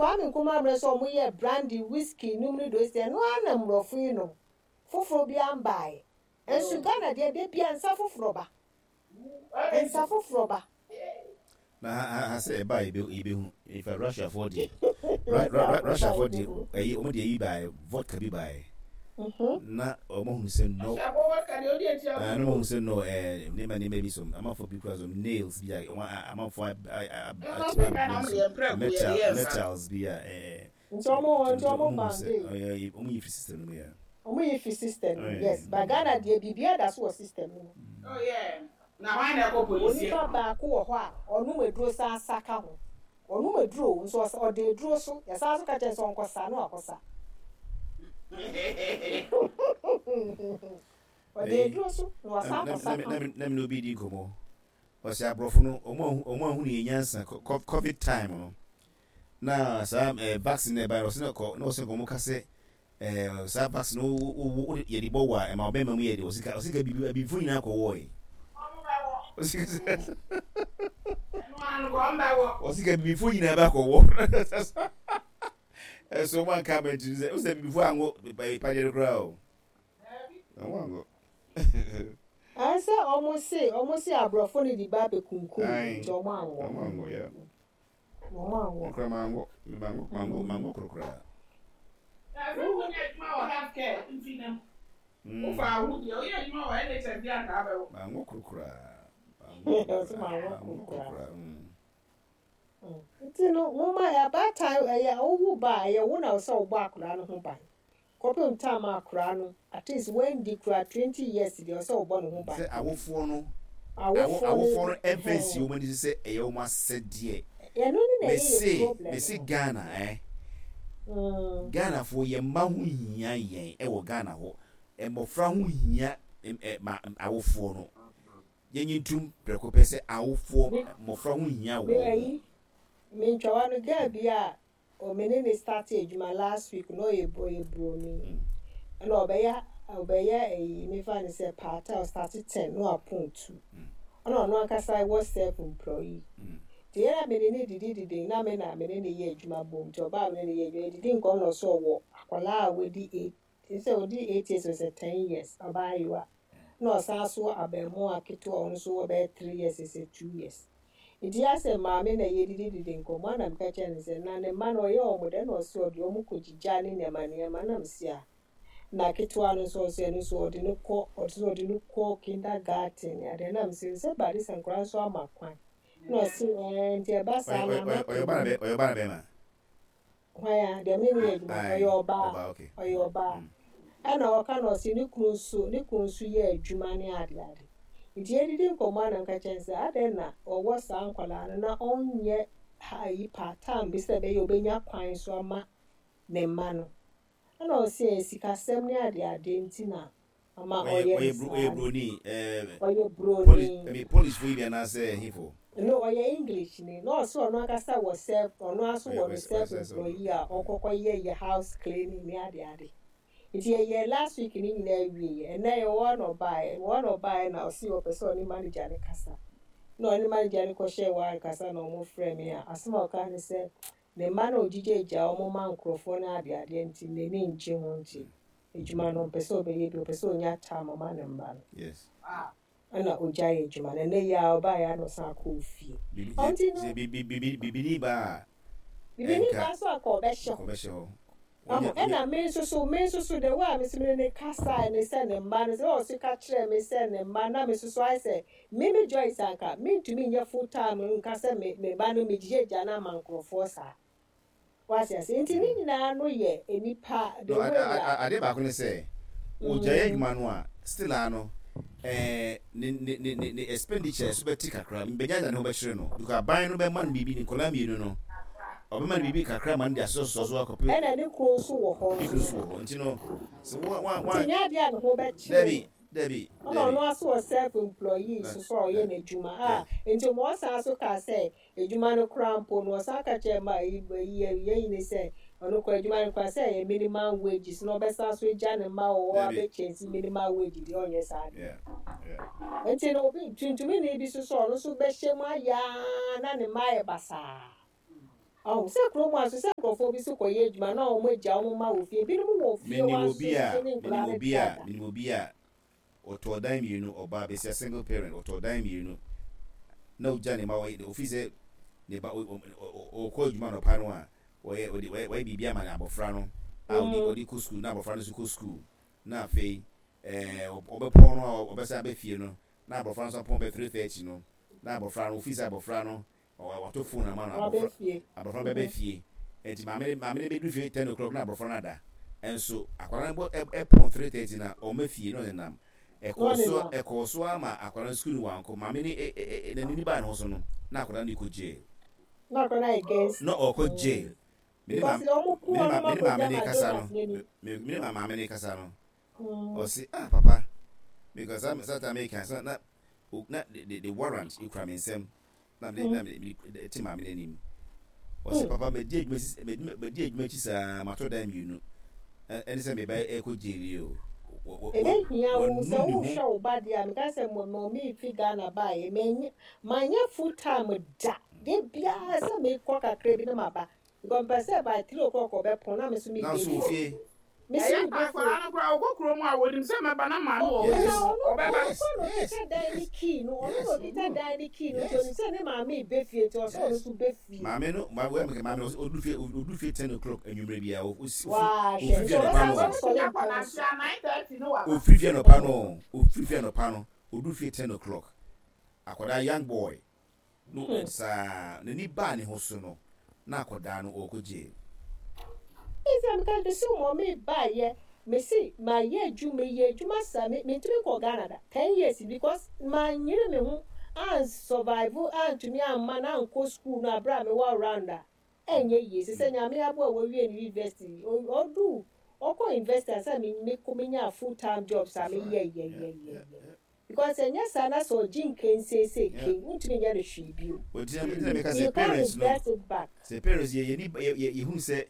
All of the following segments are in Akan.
Kwame Nkrumah mmerɛ so a wɔyɛɛ brandy, whiskey nom ne dosi, ɛno ara na mmorɔfo yi nom. Foforɔ biara mbaeɛ. Nso Ghana deɛ da biara nsa foforɔ ba. Nsa foforɔ ba. Na ha ha ha sɛ ɛba a yɛbɛ yɛbɛhu. In fact Russiafoɔ deɛ Ru Ru Ru Russiafoɔ deɛ ɛyi wɔn deɛ ɛyi baeɛ vodka bi baeɛ. Na wɔn ahunu sɛ no. Russiafoɔ vodka deɛ wodi akyire a Na wɔn ahunu sɛ no ɛɛ nneɛma nneɛma bi so amanfoɔ bi kura so nails bi a wɔn a amanfoɔ a a a Ɛno a na wɔn deɛ mprɛko yɛde metal yɛ nsa. metals bi a ɛɛ. Nti ɔmo nti ɔmo Ɔmo hu sɛ bande. ɔyɛ ɔmo yi fi system no mu yeah. Ɔmo yi fi system no mu yes but Ghana deɛ biribiara da so wɔ system no mu. Oh yeah na hwan na ɛkɔ police Onipa baako wɔ hɔ a ɔnom aduro san sa ka ho. Ɔnom aduro o nso ɔsa ɔda aduro so yɛsan nso ka kyerɛ no sɛ ɔnkɔ sa na wakɔ sa. Ɔda aduro so na wasan akɔ sa ka ho. Na me ne obi di nkɔmmɔ ɔsɛ aborɔfo no ɔmo ahu ɔmo ahunu yɛn nyansa covid time no na saa eh, vaccine na ɛbaeɛ no ɔsɛ na kɔ na ɔsɛ nkɔmɔ ka sɛ eh, saa vaccine no wo wo wo yɛde bɔ wɔ a ɛma ɔbɛrima mu yɛ de ɔsɛ ka ɔsɛ ka bibi abibifo nyinaa kɔ wɔɔe ɔsɛ ka sɛ ɔsɛ ka bibifo nyinaa bɛ akɔ wɔ ɛso wɔn anka abɛnti sɛ ɔsɛ bibifo ango padeɛ no koraa o wɔn ango. Ɛnsɛ ɔmo se ɔmo se aborɔfo no de ba abɛkunkum nti ɔmo anwɔ. Ɔmo anwɔ yeah. Wɔn a wɔ. Nkura mango, mango, mango, mango koro koraa. Na sɛ wonyɛ adwuma wɔ health care nti no, wofa wo deɛ woyɛ adwuma wɔ NHS deɛ anka abɛwɔ. Mango koro koraa. Mango koro koraa. Nti no, moma abaatan ɛyɛ wowo ba a ɛyɛ wo na sɛ wobɔ akwadaa no ho ban. Kɔpem time a akwadaa no at least wandi koraa 20 years deɛ ɔsɛ wobɔ ne ho ban. Sɛ awofoɔ no awofoɔ no ɛmfa nsi wɔn ani so sɛ ɛyɛ wɔn asɛdeɛ. Ɛno ne na ɛyɛ yɛ Mese problem mese no. Ghana eh Ghanafoɔ yɛn mma ho hia yɛn ɛwɔ Ghana hɔ. Mmɔfra ho hia ma awofoɔ no. Yɛnyi ntum prɛko pɛ sɛ awofoɔ mmɔfra ho hia Me wɔn. ayi me ntwawa no girl bi a O me ne no startee adwuma last week na ɔyɛ ɔyɛ broni ɛna ɔbɛyɛ ɔbɛyɛ ɛyi mefa no sɛ part time ɔstarte ten na wapɔn two ɛna ɔno ankasa wɔ self employee nti yɛn na me ne no didi didi na me na me ne no yɛ adwuma bom nti ɔbaa me ne no yɛ adwuma yɛdidi nkɔm na ɔsɛ ɔwɔ akwadaa a wadi eight sɛ ɔdi 8 years or sɛ 10 years abaayewa na ɔsan so wɔ abɛɛmoa ketewa ɔno nso wɔ bɛyɛ 3 years sɛ 2 years. Nti asɛ maame na yɛdidididi nkɔmmɔ na meka kyerɛ no sɛ na ne mma no ɔyɛ wɔn dɛ na ɔsɛ ɔde wɔn kɔ gyigya ne nneɛma nneɛma na mesi a na ketewa no nso ɔsɛ ɛno nso ɔde no kɔ ɔde ɔde no kɔ kindergarten ne adeɛ na mesi sɛ ba de sɛ nkwadaa nso ama kwan na ɔse ɛɛ nti ɛba saa na ama Ɔyɛ ɔbaa na ɔyɛ ɔbaa na bɛrima. Hwan a deɛ me ne yɛ adwuma ɔyɛ ɔbaa ɔyɛ ɔbaa ɛna ɔka na ɔse ne kunu nso ne kunu nso yɛ adwuma ne ade ade nti yɛdidi nkɔmmɔ a na meka kyerɛ no sɛ adɛn na ɔwɔ saa nkwadaa no na ɔnyɛ ha yi part time bi sɛ ɛbɛyɛ ɔbɛnya kwan so ama ne mma no ɛna ɔse ɛyɛ sikasɛm ne ade ade nti na ama Ɔyɛ ɔyɛ ne ɔyɛ bro ɔyɛ saa no. Broni ɛɛ Ɔyɛ Polish broni. I mean Polish fo yi bi anaasɛ hefo. No, ɔyɛ English ni. Na ɔse ɔno ankasa wɔ self, ɔno ara nso Ɔyɛ wɔ ne ɔyɛ self ɔyɛ self employee a ɔkɔkɔ yɛ yɛ house cleaning ne ade ade. Nti yɛyɛɛ last week ne nyinaa wieɛ. Ɛnnɛ yɛwɔ hɔ na ɔbaeɛ. Yɛwɔ hɔ na ɔbaeɛ na ɔse ɔpɛ sɛ ɔne manager no kasa. Na ɔne manager no kɔhyɛɛ hɔ ankasa na ɔmo frɛɛ me a asɛm a ɔkaa ne sɛ ne mma no a ɔgyigyaagyaa ɔmo ma nkorɔfoɔ ne ade adeɛ nti n'ani ngye ho nti adwuma no ɔmpɛ sɛ ɔbɛyɛ bi, ɔpɛ sɛ ɔnya time ma ne mma no. Ɛna ogyae adwuma no. Ɛnɛ yi ara ɔbaeɛ ara na ɔsan kɔɔ fie. Bibi Ɔnti no. Sɛ bi bi bi bibini ba a. Bibini Ɛnka ba nso anka ɔbɛhyɛ hɔ. Ɔbɛhyɛ hɔ. Wahu? Ɔnyɛ ɔnyɛ. Ɛna me nso so, me nso so, the way a me nso me ne no kasae ne sɛ ne mma no, sɛ ɔse ka kyerɛɛ me sɛ ne mma, na me nso so ayɛ sɛ me me Joyce anka mentumi nyɛ full time nka sɛ me me ba no megyigya no ama nkorɔfoɔ saa. Wate ase? Nti ne nyinaa no yɛ nnipa, the No, way a. adeɛ baako ne sɛ, ɔgyae adwuma no a, still ara no, eh, ne, ne, ne, ne, ne expenditure so bɛte kakra, mbɛgya ne ho bɛkyere no, because aban no bɛma no biribi, ne nkwadaa mmienu no, ɔbɛma no biribi kakra ma no de asosɔsosɔ so akɔpɛ. Ɛna ne kunu nso wɔ hɔ Ne kunu nso. nso wɔ hɔ, nti no, sɛ wa, wa, wa. Nti nyɛ adeɛ a ne ho bɛkyere no. Dabi, dabi, Ɛna dabi. ɔno ara nso wɔ self employee nso so a ɔyɛ n'adwuma a, nti ma ɔsan nso kaa sɛ Adwuma no koraa mpo no, ɔsan ka kyerɛɛ ma ayi ayi ayi ne sɛ ɔno koraa adwuma no koraa sɛ ɛyɛ minimum wages na ɔbɛsan so agya ne mma wɔ hɔ Dabi. abɛkyɛnsi minimum wage deɛ ɔnyɛ saa deɛ. Yeah, yeah. Nti no obi tuntumni bi nso so ɔno nso bɛhyɛ mu ayɛ ara na ne mma ayɛ basaa. Ɔho sɛ kurom ha nso sɛ nkurɔfoɔ bi nso kɔyɛ adwuma na wɔn agya wɔn mma wɔ fie, ebinom wɔ fie hɔ Menim ara obi nso a, so ne menim nkwadaa no obi a, dada. menim obi a ɔtɔɔ dan mmienu, ɔbaa besia single parent, ɔtɔɔ dan mmienu na ogya ne mma, ɔyɛ ofii sɛ ne ba ɔkɔ adwuma anɔpa no a, ɔyɛ ɔde wayɛ biribi ama abɔfra no a ɔde ɔde kɔ sukuu na abɔfra no nso kɔ sukuu na afei ɛɛ ɔbɛpɔn no a ɔbɛsan aba fie no na abɔfra no nso apɔn bɛ 3:30 no na abɔfra no ofii sɛ abɔfra no Wato phone ama no Waba abɔfra fie. abɔfra no bɛba fie nti maame no maame no bɛduru fie 10 o'clock na abɔfra no ada nso akwadaa no bɔ ɛpɔn 3:30 na ɔma fie na ɔnenam Na ɛkɔɔ so ɔnenam. ɛkɔɔ so ama akwadaa no sukuu no wankɔ maame no ɛ ɛ ɛ n'ani baa ne ho so no na akwadaa no kɔ jail. Na akwadaa no ayɛ gangster. Na ɔkɔ jail. Me ne Because maame wɔn ko me ne wɔn ma me ne maame akɔgya no ma kasa Jonas no n'anim. me me ne maame no kasa no ɔse ah papa because saa saa time meka sɛ na na the warrant ekura me nsam na me na me te maame n'anim ɔse papa medi adwuma si medi adwuma akyi saa mato dan mmienu ɛne sɛ meba ɛkɔ jail yi o. Ɛbɛhia wo sɛ wohwɛ wo ba deɛ a meka sɛ mɔmi fi Ghana baeɛ manyɛ full time da de biara sɛ mekɔ kakra bi na maba because mpɛ sɛ by 3 o'clock ɔbɛpɔn na me so na nso wɔ fie. Ɛyɛ akwadaa no koraa ɔkɔ kurom a wɔnim sɛ mɛba na maame wɔ hɔ na ɔno ɔbɛba. Ɔno na ɔkita dan ne key no, ɔno na ɔkita dan ne key no nti onim sɛ ne maame bɛ fie nti ɔsɛ ɔno nso bɛ fie. Maame no maame wɛ maame no odu fie odu fie 10 o'clock anwummerɛ bi a osi Waa ofi hwɛ ofiri nti fie anɔpa ɔbɛsan no so asɔre mpɔn so. Ofiri fie anɔpa no ofiri fie anɔpa no odu fie 10 o'clock akwadaa young boy no saa n'ani baa ne ho so no na akwadaa no ɔrekɔ jail. Nti na meka mesi wɔn mi baayɛ mesi ma yɛ adwuma yɛ adwuma sa me mentumi nkɔ Ghana da 10 years because ma nyere me ho an survive antumi amma na ankɔ school no abere a mewɔ around a ɛnyɛ yie sɛ Nyame aboa wɔwie ne university ɔdu ɔkɔ university ansa me me menya full time job sa me yɛ yɛ yɛ yɛ yɛ because ɛnyɛ saa na sɛ ɔgye nkenseese ken ntumi nyɛ no hwee bio. Ɔgyina mi gyina mi ka You sɛ can't parents no reverse it back. Sɛ parents yɛ yɛ ni yɛ yɛ yɛhu sɛ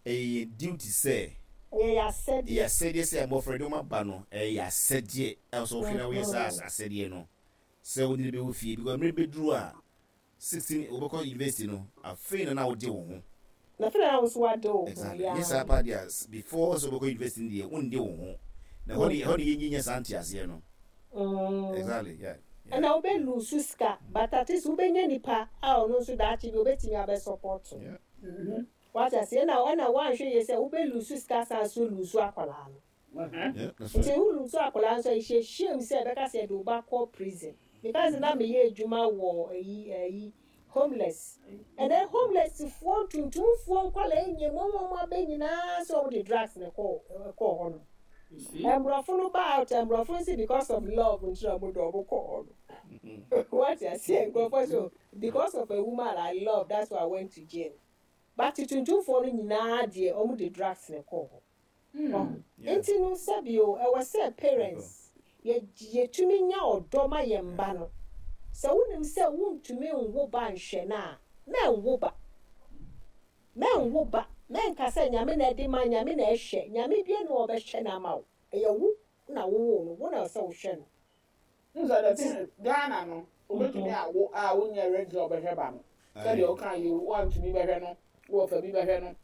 ɛyɛ yɛn duty sɛ ɛyɛ yɛ asɛdeɛ. Yɛ asɛdeɛ sɛ mmɔfra de wɔn aba no, ɛyɛ yɛ asɛdeɛ ɛwɔ sɛ wɔhwɛ na wɔyɛ saa asɛdeɛ no sɛ wɔde no bɛwɔ fie because mmerɛ bɛduru a 16 wɔbɛkɔ university no afei na na wode wo ho. Na afei na wo nso wade wo ho. Exactly, nyɛ saa paa deɛ before sɛ wobɛkɔ university no deɛ wonde wo ho na ɛhɔ ne ɛhɔ ne yɛnyɛ saa nteaseɛ no. Exactly, yeah. Ɛna wobɛ lose sika but at least wobɛnya nipa a ɔno nso daakye bi obɛtumi abɛ support. Wate aseɛ? Ɛna woanhwɛ yie sɛ wobɛ lose sika san so lose akwadaa no. Yeah, that's nti right. wo lose akwadaa nso a ɛhyɛ shame sɛ ɛbɛka sɛ yɛde wo ba kɔ prison because na meyɛ adwuma wɔ ayi homeless ɛnɛ homeless foɔ ntuntumfoɔ nkwadaa nyɛ mu wɔn abɛ nyinaa sɛ wɔn de drugs na ɛkɔɔ hɔ no mborɔfo no ba out mborɔfo no sɛ because of love nti na wɔn de wɔn kɔɔ hɔ no. Wate aseɛ? Nkurɔfoɔ so because of a woman I love, that's why I went to jail, but tuntumfoɔ no nyinaa deɛ wɔn de drugs na ɛkɔɔ hɔ. Nti no sɛbio ɛwɔ sɛ parents yɛ yɛtumi nya ɔdɔ ma yɛn mba no. Sɛ wonim sɛ wontumi nwo ba nhwɛ no a, mɛnwo ba, mɛnwo ba. Mɛnka sɛ Nyame na ɛde ma, Nyame na ɛhwɛ. Nyame bie na ɔbɛhwɛ no ama wo. Ɛyɛ wo na wowoo no, wo na ɛwɔ sɛ wohwɛ no. N sɛ the thing is Ghana no wobɛtumi awo a wonyɛ ready sɛ ɔbɛhwɛ ba no sɛdeɛ woka yi woantumi bɛhwɛ no wɔ fa bi bɛhwɛ no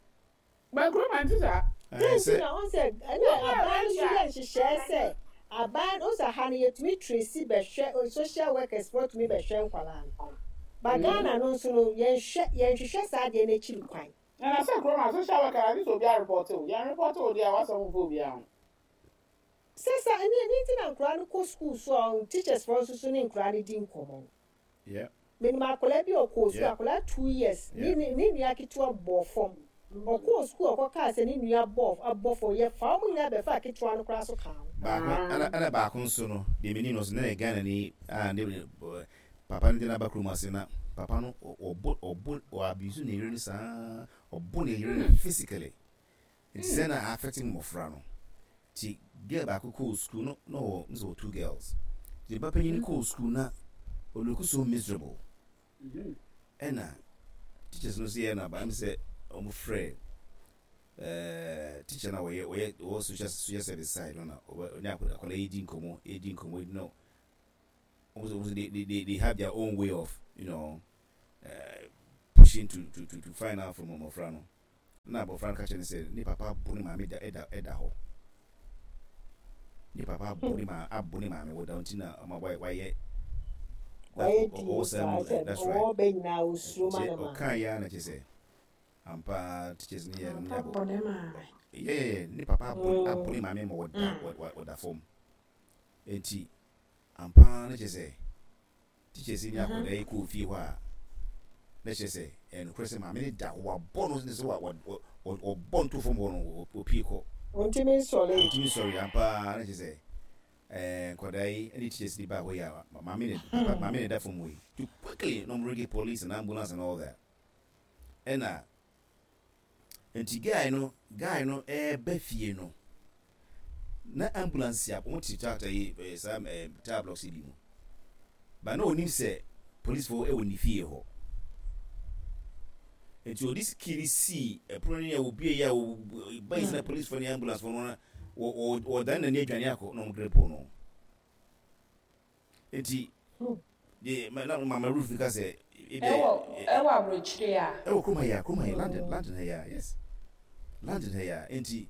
ba kurom ante saa. Nti na ɔn sɛ ɛna aban no so yɛ nhyehyɛɛ sɛ aban ɔn sɛ ha no yɛtumi trace bɛhwɛ, social workers foɔ tumi bɛhwɛ nkwadaa no ba. Ghana no nso no yɛnhwɛ yɛnhwehwɛ saa adeɛ no akyiri kwan. Na sɛ kurom a social worker ade sɛ obi areport wo yɛn report wo deɛ a wasɛm mfa obiara ho. Sɛ sa ɛne nti na nkwadaa no kɔ school so a teachers foɔ nso so ne nkwadaa no di nkɔmmɔ no. Menim akwadaa bi a ɔkɔɔ school, akwadaa 2 years, ne nua ketewa bɔɔ fam. Ɔkɔɔ school ɔkɔkaa sɛ ne nua bɔɔ abɔ fam, yɛfa wɔn nyinaa bɛfa ketewa no koraa so kaa ho. Baako ɛna baako nso no deɛ menim no nso na yɛ Ghana ni a ne papa no de n'aba kurom ase na papa no ɔbɔ ɔ abuse ne yere no saa, ɔbɔ ne yere no physically nti sɛ na affect mmɔfra no. Nti girl baako kɔɔ school no na ɔwɔ nso wɔ two girls nti ba panyin kɔɔ school na ɔ look so miserable ɛna teachers no nso yɛ na ba ɛm sɛ ɔmo frɛ teacher na wɔyɛ wɔwɔ social service side no na ɔne akwadaa yi di nkɔmɔ yi di nkɔmɔ yi no ɔmo sɛ they have their own way of pushing. pushing to find out from mmɔfra no. Na abɔfra no ka kyerɛ no sɛ ne papa abo ne maame da ɛda ɛda hɔ. Ne papa abo ne maa abo ne maame wɔ da nti na ɔma wayɛ wayɛ ɔwɔ saa mu that's right. Ɔwɔ bɛ nyinaa osuro ma ne maame. Ɔka yɛ ara na kyerɛ sɛ ampa teachers ne yɛ no ne abo. Yɛ yɛ yɛ ne papa abo abo ne maame ma ɔda ɔda fam. Enti ampa na kyerɛ sɛ Teachers yi ne akwadaa yi kɔɔ fie hɔ a, na kyerɛ sɛ ɛyɛ nokorɛ sɛ maame no da hɔ, wabɔ no ne sɛ wɔbɔ no to fam hɔ no, wɔpue kɔ. Ɔntumi nsɔre. Ɔntumi nsɔre, ampa ara na kyerɛ sɛ ɛɛ nkwadaa yi ne teachers yi baa hɔ yi a, maame ne papa maame na ɛda fam hɔ yi. To quickly na wɔn ringi police and ambulance and all that. Ɛna Nti guy no guy no ɛɛba fie no na ambulance a wɔn te tractor yi ɛɛ saa ɛɛ tire blocks yi bi mu ba na onim sɛ polisifo ɛwɔ ne fie hɔ nti ɔde key no sii ɛpono no a obie yi a ɔba yi sɛ na polisifo ne ambulance fo no wɔ wɔ wɔdan n'ani adwane akɔ na wɔn grip no. Enti, deɛ ma na Mama Ruth ka sɛ, ebi Ɛwɔ ɛwɔ aburokyire a. Ɛwɔ kurom ha yi a, kurom ha yi, London, London ha yi a, yes, London ha yi a. Enti,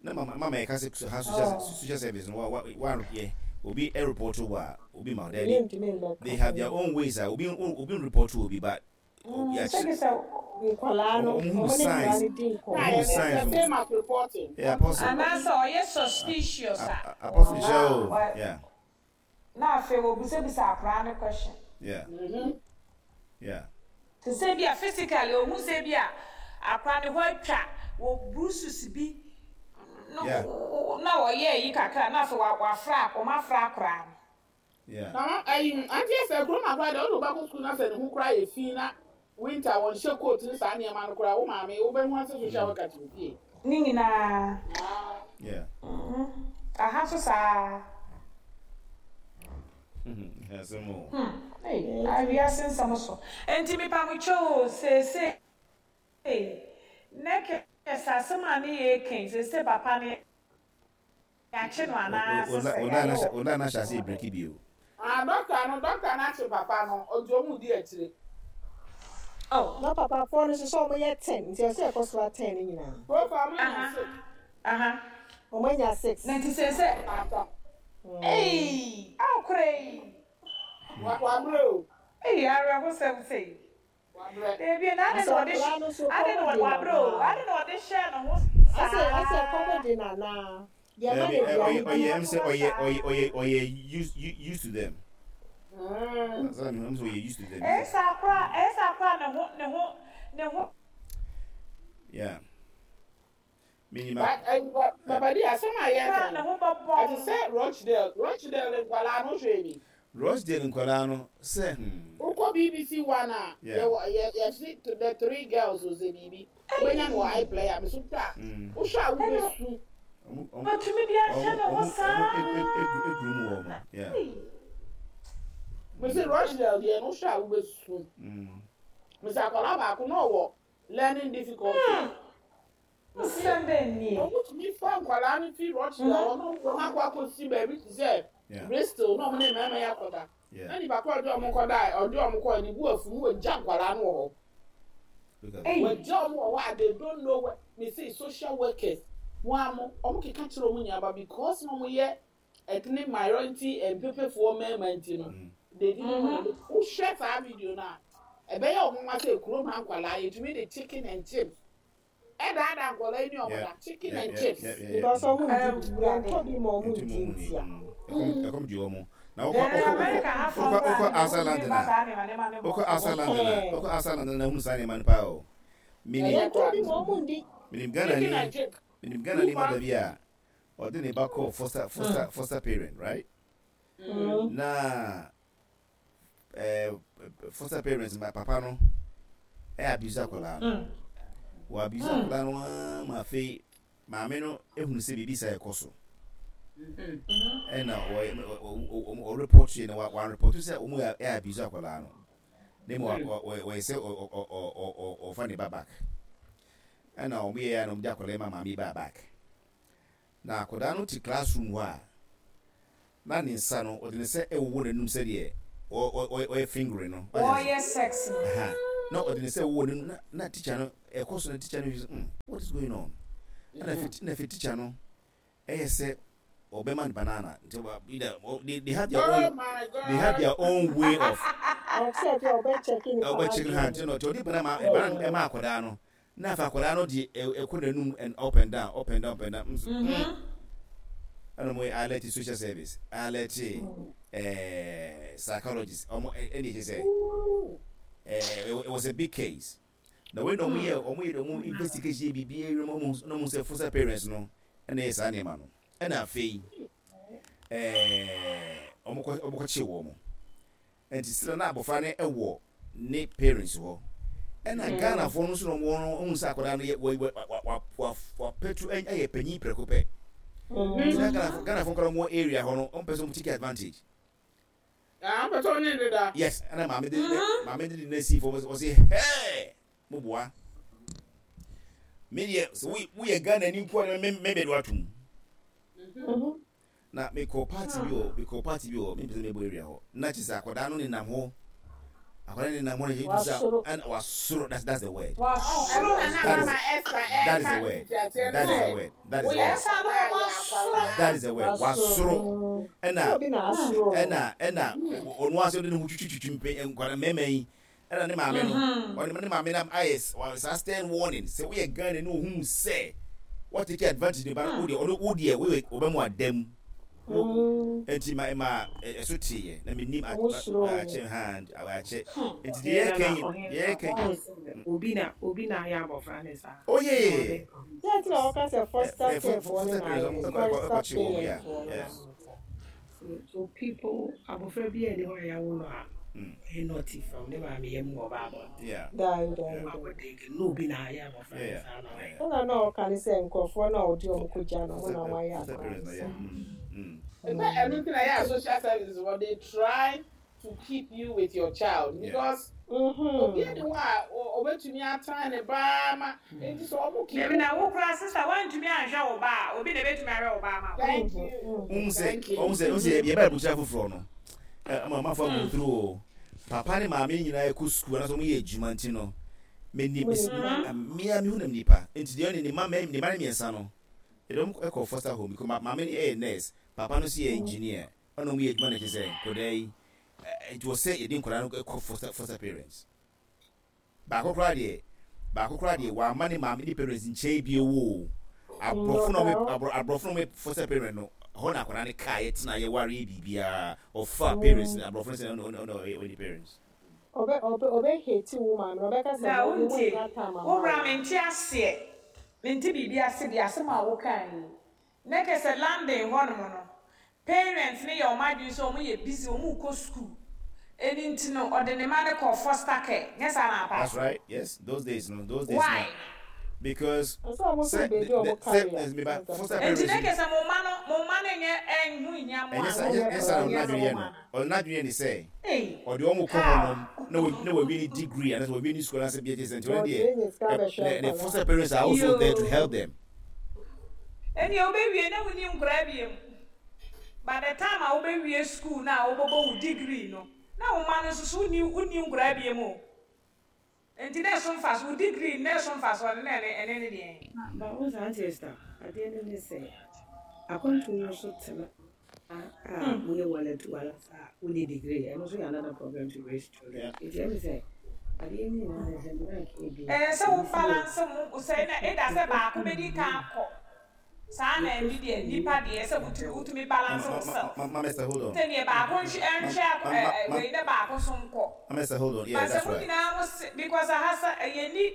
na mama mama yɛ ka sɛ ha social oh. social service no wa wa wa yɛ obi ɛ report wɔ a obi ma ɔdɛ bi. They have their own ways a obi obi report obi but Sɛ sɛ nkwadaa no, wɔn hu signs, wɔn ne nkwadaa no di nkɔmmɔ. Wɔn hu signs no. Same as reporting. Yeah, apostle. Anaasɛ ɔyɛ suspicious a. Apostle hyɛ o, yeah. Na afei wɔbisabisa akwadaa no question. Yeah. Yeah. Te sɛ bi a physically ohu sɛ bi a akwadaa no hɔ atwa wɔ bruises bi no na ɔyɛ ayi kakra na afei wafra wɔn afra akwadaa no. Yeah. Na ayi auntie Esther kurom akora deɛ wode wo ba kɔ sukuu na sɛ ne ho koraa yɛ fi na winter wɔnhyɛ coat ne saa nneɛma no koraa wo maame wobɛhu ase social worker te wo fie. Ne nyinaa. Yeah. Aha nso saa. Asɛm o. Hmm. Ei, wiase nsɛm so. Enti mepa mo kyɛw o, seesei nɛkɛ sɛ asɛm a ne yɛ reka yi, seesei papa no Yɛakye no anaa sɛ sɛ yɛayɛ wɔ. Ola na ahyɛ ase breki bio. Ah doctor no doctor no akye papa no nti ɔmo di akyire. Oh. Na papa foɔ no nso sɛ ɔmo yɛ ten nti ɛsɛ ɛkɔ so a ten no nyinaa. So far ɔmo anya six. Aha. Ɔmo anya six. Na nti sɛ Asa. Eii awokora yi. Wa wabrɛ o. Eii awerɛhosɛm sei. Wabrɛ. Dabi na adɛn na ɔde Asɛ akwadaa no nso adɛn na kɔm de no wabrɛ o anaa? adɛn na ɔde hyɛɛ ne ho Asɛ asɛ saa. kɔm de no anaa? Deɛ ɛma Dabi no aduane ɔyɛ di. ɔyɛ ɛm sɛ ɔyɛ ɔyɛ ɔyɛ ɔyɛ used used to them. Sɛ ɛm sɛ ɔyɛ used to them. Ɛyɛ saa koraa ɛyɛ saa koraa ne ho ne ho ne ho. Yeah. Minim But a. Papa di asɛm a yɛka Koraa ne no ho bɛbɔn. ɛte sɛ Rochdale Rochdale nkwadaa no hwɛ bi. Rochdale nkwadaa no sɛ hmm. Wokɔ BBC one a Yeah. yɛwɔ yɛ yɛse the three girls o sɛ biribi wobɛnya no wɔ iPlayer me so hwɛ a wohwɛ a wobɛsu. Ɔmo ɔmo Ɔtumi de ahyɛ ɔmo ne ho ɔmo saa. ɔmo eguru mu wɔ ɔmo yeah. Me se Rochdale deɛ no wohwɛ a wobɛsu. Me se akwadaa baako na ɔwɔ learning difficulty. Mese Asɛm bɛn nie? wɔtumi fa nkwadaa no fi Rochdale hɔ na wɔn akɔ akɔsi baabi te sɛ Bristol na wɔn ne mmarima yi akɔda. Na nipa korɔ ɔde wɔn kɔda ɔde wɔn kɔɔ ne bu afu no wɔgya nkwadaa no wɔ hɔ. Wɔgya wɔn wɔ hɔ a they don't know where. Mese social workers wɔn ano wɔn keka kyerɛ wɔn nyinaa but because na wɔn yɛ ethnic minority mpepefoɔ mmarima nti no they didn't want to. Wohwɛ saa video no a ɛbɛyɛ wɔn nwa sɛ kurom ha nkwadaa yɛtumi de chicken and chips Ɛdaadaa nkwadaa yi ne wɔn da chicken and chips. Because wɔn ndi bi, yɛntɔ bi ma wɔn ndi ntia. Ɛkɔm di wɔn. Na wokɔ wokɔ wokɔ outside London a wokɔ outside London a wokɔ outside London na hunu saa nneɛma no paa o. Minim Yɛntɔ bi ma wɔn ndi. Minim Ghana ni minim Ghana ni mother bi a ɔde ne ba kɔɔ foster foster foster parent right na eh, foster parents ma papa no eh, abuse akwadaa no wɔ abuse akwadaa no ara ma afei maame no ehunu sɛ biribi saa ɛkɔ so ɛna ɔreport yɛ no wɔn report sɛ wɔn yɛ abuse akwadaa no ne mu wɔyɛ sɛ ɔfa ne ba back ɛna wɔn yɛ ya na wɔn de akwadaa ma maame ba back na akwadaa no te classroom hɔ a. Na ne nsa no, ɔde ne nsa wowɔ n'anum sɛdeɛ ɔyɛ fingering no. Wɔreyɛ sex no. Aha. Na ɔde ne sɛ wɔ ne na na teacher no ɛkɔ so na teacher no fi what is going on? Ɛna fi na fi teacher no ɛyɛ sɛ ɔbɛma no banana nti either they have their own oh they have their own way of ɔbɛ check ha nti no nti ɔde banana ma banana ɛma akwadaa no na afa akwadaa no de ɛkɔ n'anum and up and down up and down up and down nso ɛna mo alert social service alert ɛɛ psychologist ɔmo ɛna ɛkyɛ sɛ ɛɛ it was a big case. Na wei na ɔmo yɛ ɔmo yɛ ɔmo investigation yɛ biribi awie na ɔmo na ɔmo sɛ foster parents no ɛna ɛyɛ saa nneɛma no ɛna afei ɛɛ ɔmo kɔ ɔmo kɔ kye wɔn nti sira na abɔfra no ɛwɔ ne parents hɔ ɛna mm. Ghanafoɔ no nso na ɔmo no ɔmo sɛ akwadaa no yɛ wɔ wɔ wa wa wapɛtu ɛyɛ panyin prɛko pɛ nti na Ghanafoɔ Ghanafoɔ nkɔla ɔmo wɔ area hɔ no ɔmo pɛ sɛ ɔmo take advantage. Ah, mpɛ sɛ ɔne ne da. Yes, ɛna maame de maame de ne si fam ɔsi hɛɛ mo boa. Me deɛ sɛ wo woyɛ Ghana ni nko a me me bɛ do atum. Na me kɔ party bi wɔ me kɔ party bi wɔ me mpɛ sɛ me bɔ area hɔ. Na kyerɛ sɛ akwadaa no nenam hɔ. Akwadaa no nenam hɔ na yɛ sɛ ɛna wasoro that's that's the word. Wasoro. That is the word. That is the word. That is the word. That is the word. Wasoro. Ɛna ɛna ɛna ɔno ase ɔde ne ho twitwitwi mpɛ nkwadaa mmarima yi ɛna ne maame no ɔne ne maame no ayɛ saa stern warning sɛ woyɛ Ghana ne ohun sɛ what take advantage ne ba no wodeɛ ɔno wodeɛ woyɛ ɔbɛ mu adam nti ma ma ɛso teeɛ na menim akyɛ ha akyɛ nti deɛ yɛ kɛn deɛ yɛ kɛn obi na obi na ayɛ abɔfra ne saa. Oh yeah yeah yeah. Sɛ nti na wɔka sɛ foster care foɔ no na ayɛ foster parent foɔ no na So people abɔfra bi a ɛni hɔ a yɛawo no a ɔyɛ naughty from ne maame yam wɔ ɔba abɔnten. Daabi daabi daabi. Na obi na ayɛ abɔfra no saa na ɔyɛ. Ɛna na ɔka ne sɛ nkurɔfoɔ no a ɔde wɔn kɔgya no wɔn na wɔayɛ akwadaa no saa. Ɛsɛ ɛno nti na yɛ a social services wɔ they try to keep you with your child because obi ni hɔ a obetumi atan ne ba ma nti sɛ ɔmo keep. Dabi na wo koraa sister woantumi anhwɛ wo ba a obi na ebetumi ahwɛ wo ba ama wo. Thank you. Wohu sɛ Thank you. wohu sɛ wohu sɛ yɛba abusua foforɔ no ama amanfoɔ ago through o papa ne maame nyinaa kɔ sukuu anaasɛ wɔn yɛ adwuma nti no menim mmea mehu nam nipa nti deɛ ɔne ne mma ne mma no mmiɛnsa no yɛde wɔn kɔ foster home because maame no yɛ nurse papa no nso yɛ engineer Ɔna ɔmo yɛ adwuma na kyerɛ sɛ nkɔdaa yi nti wɔ sɛ yɛde nkɔdaa no kɔ foster foster parents baako koraa deɛ baako koraa deɛ wama ne maame ne parents nkyɛn bio o aborɔfo na ɔmo aborɔfo na ɔmo foster parent no hɔ na akɔdaa no kaa yɛ tena yɛ ware yɛ biribiara ɔfa parents no aborɔfo no sɛ ɔna ɔna ɔyɛ ɔne parents. Ɔbɛ ɔbɛ ɔbɛ hate wo maame no ɔbɛka sɛ Na mo mo wontie nya time wo ama bra wo. mente aseɛ mente biribi ase deɛ asɛm a wokaa yi na kyerɛ sɛ London hɔ nom no Parents no yɛ wɔn adwene sɛ wɔn yɛ busy, wɔn rekɔ school, ɛno nti no ɔde ne mma no kɔ foster care, nyɛ saa na apa? That's right, yes, those days no, those days Why? no, because Ɛsɛ ɔmo sɛ so baabi a the ɔmo sɛ carry a me ba foster Nti parents na no kyerɛ sɛ mo mma no, mo mma no nyɛ ɛnho nhia mo ɛnyɛ a, sa mo ɛnyɛ ɛho saa na ɔno hia sɛ n'adwene mo yɛ ma no no. ɔno n'adwene yɛ ne sɛ Ei, ɔde wɔn kɔ hɔ how? nom na wa na wawie ne degree anaasɛ wawie ne school anaasɛ bi ɛkyɛ sɛ nti ɔno Ɔde deɛ enya sika ɛ bɛhwɛ ne ne nkwadaa. foster parents are also there to help Yoo. them. Ɛnneɛ wobɛwie na wonni nkoraa biom. By the time a wobɛwie school no a wobɛbɔ wo degree no, na wo mma no nso so wonni wonni nkoraa biom o. Nti na ɛso mfaso, wo degree no na ɛso mfasoɔ no na ɛne ɛne ne deɛn? Na ba wo saa Auntie Esther, adeɛ no ne sɛ, akwantuo no so tena a woyɛ walatu walasa a wonni degree, ɛno nso yɛ another problem to raise children. Nti ɛmi sɛ adeɛ no nyinaa ne sɛ mmira nka bi Ɛyɛ sɛ wo ebi si yɛ balance mo sɛ na either sɛ baako bɛdi kan akɔ saa na yɛkɔ ɛnde deɛ sukuu nipa deɛ sɛ wotumi wotumi balance Mama, wo self mama, mama Esther, hold on. sɛ neɛ baako nhwɛ ɛnhwɛ Mama, ɛ ɛ mama, wei na baako nso nkɔ Mama Esther, hold on. Yeah, but sɛ that's mo right. nyinaa mo se because aha sa yɛnni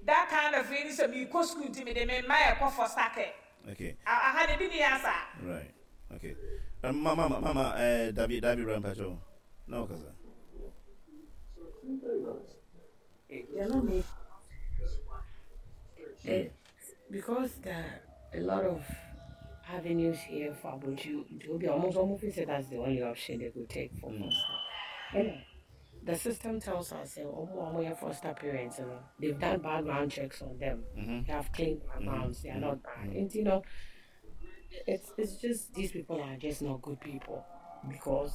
that kind of wei ne sɛ meekɔ school nti mede me mma ɛkɔ foster care Okay. aha de bi ni ha saa. Right. Okay. Mama, mama, mama, Dabi, Dabi, Rampacho. No, kasa. Yeah, no, me. Because there are a lot of avenues here for Abuju, it will be almost almost say that's the only option they could take for foster. And the system tells us that omo foster parents, they've done background checks on them. They have clean backgrounds. They are not bad. And it's just these people are just not good people because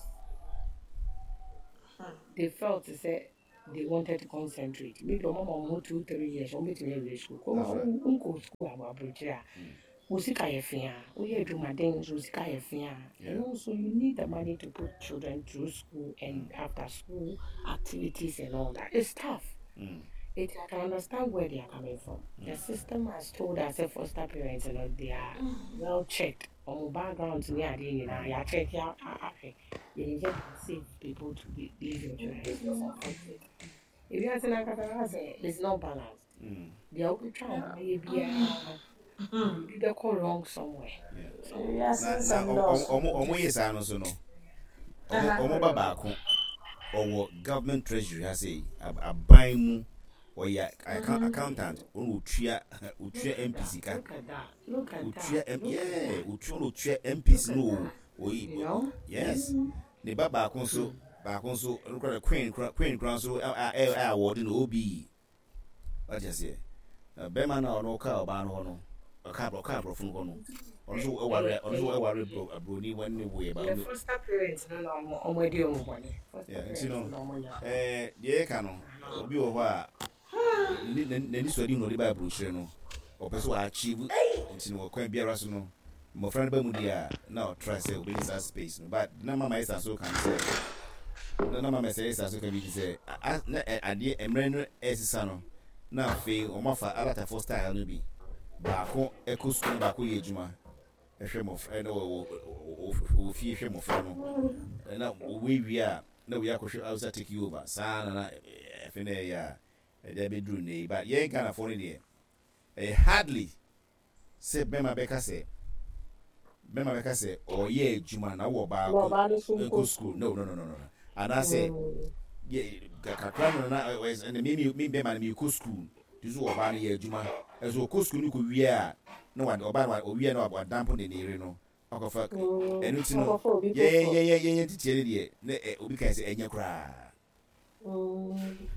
they felt to say they wanted to concentrate. Maybe ɔmo ama ɔmo ho 2, 3 years, ɔmo betumi awie school. Kurom a wonkɔ school a aburokyire a, wo sika yɛ fea, woyɛ adwumaden nso wo sika yɛ fea. And also you need the money to put children through school and after school activities and all that. It's tough. I can understand where they are coming from. The system has told us that foster parents, they are well checked. Ɔmo backgrounds ne adeɛ nyinaa yɛacheck ahwɛ. Yɛnim sɛ safe people to be leave your children. It's unfortunate. Ewiase no ankasa na sɛ it's not balanced. Deɛ wobɛtwa wo ho ayɛ biara, biribi bɛkɔ wrong somewhere. Wiase Na nsɛm dɔɔso. Ɔmo yɛ saa no so no, ɔmo ba baako ɔwɔ government treasury ha sɛ aban mu, ɔyɛ accountant, ɔno otua MP sika. Look at that. Look at otua that. M Look at yeah that. Otua, ɔno otua MPs no o. Oyi You know? Yes, ne ba baako nso ɔno kora Queen kora nso a award no OBE. Wate aseɛ? Na bɛrima no a ɔno ɔka ɔbaa no hɔ no, ɔka aborɔfo no hɔ no, ɔno nso ɛware aburoni wɔn ne wo yɛ ba. The foster parents no na ɔmo adi ɔmo bɔne. Foster Yeah, parents nti no no ɔmo nya. Deɛ yɛka no, obi wɔ hɔ a n'ani sɔ adi na ɔde ba aburokyire no, ɔpɛ sɛ ɔachieve, nti no ɔkwan biara so no mmɔfra no ba mu deɛ a, na ɔtry sɛ obɛnya saa space no. But na mama ɛsa so ka no sɛ na mama ɛsɛ so ka bi sɛ na adeɛ mmerɛ no ɛsesa no, na afei wɔn afa alatafoɔ style no bi, baako ɛkɔ sukuu na baako yɛ adwuma ɛhwɛ mmɔfra, ɛna wɔ fie hwɛ mmɔfra no, ɛna wɔwɔ wie a na wɔyɛ akɔhwɛ outside, take you over saa na ɛfɛ na ɛyɛ a ɛde abɛduru ne yi. But yɛn Ghanafoɔ no deɛ, ɛyɛ hardly sɛ bɛrima bɛka sɛ ɔyɛ adwuma na wɔ baako ɔbaa no so nkɔ nkɔ school. No, no, no, no, no, anaasɛ yɛ kakra no na ɛna mi bɛrima no mi kɔ school ti so, ɔbaa no yɛ adwuma, ɛso ɔkɔ school no kɔ wie a, na wa ɔbaa no owie a na wadampo ne yere no akɔfa. Ɛno ti no akɔfa obi yɛ foforɔ. Yɛ titiɛ no deɛ na obi kan sɛ ɛnyɛ koraa.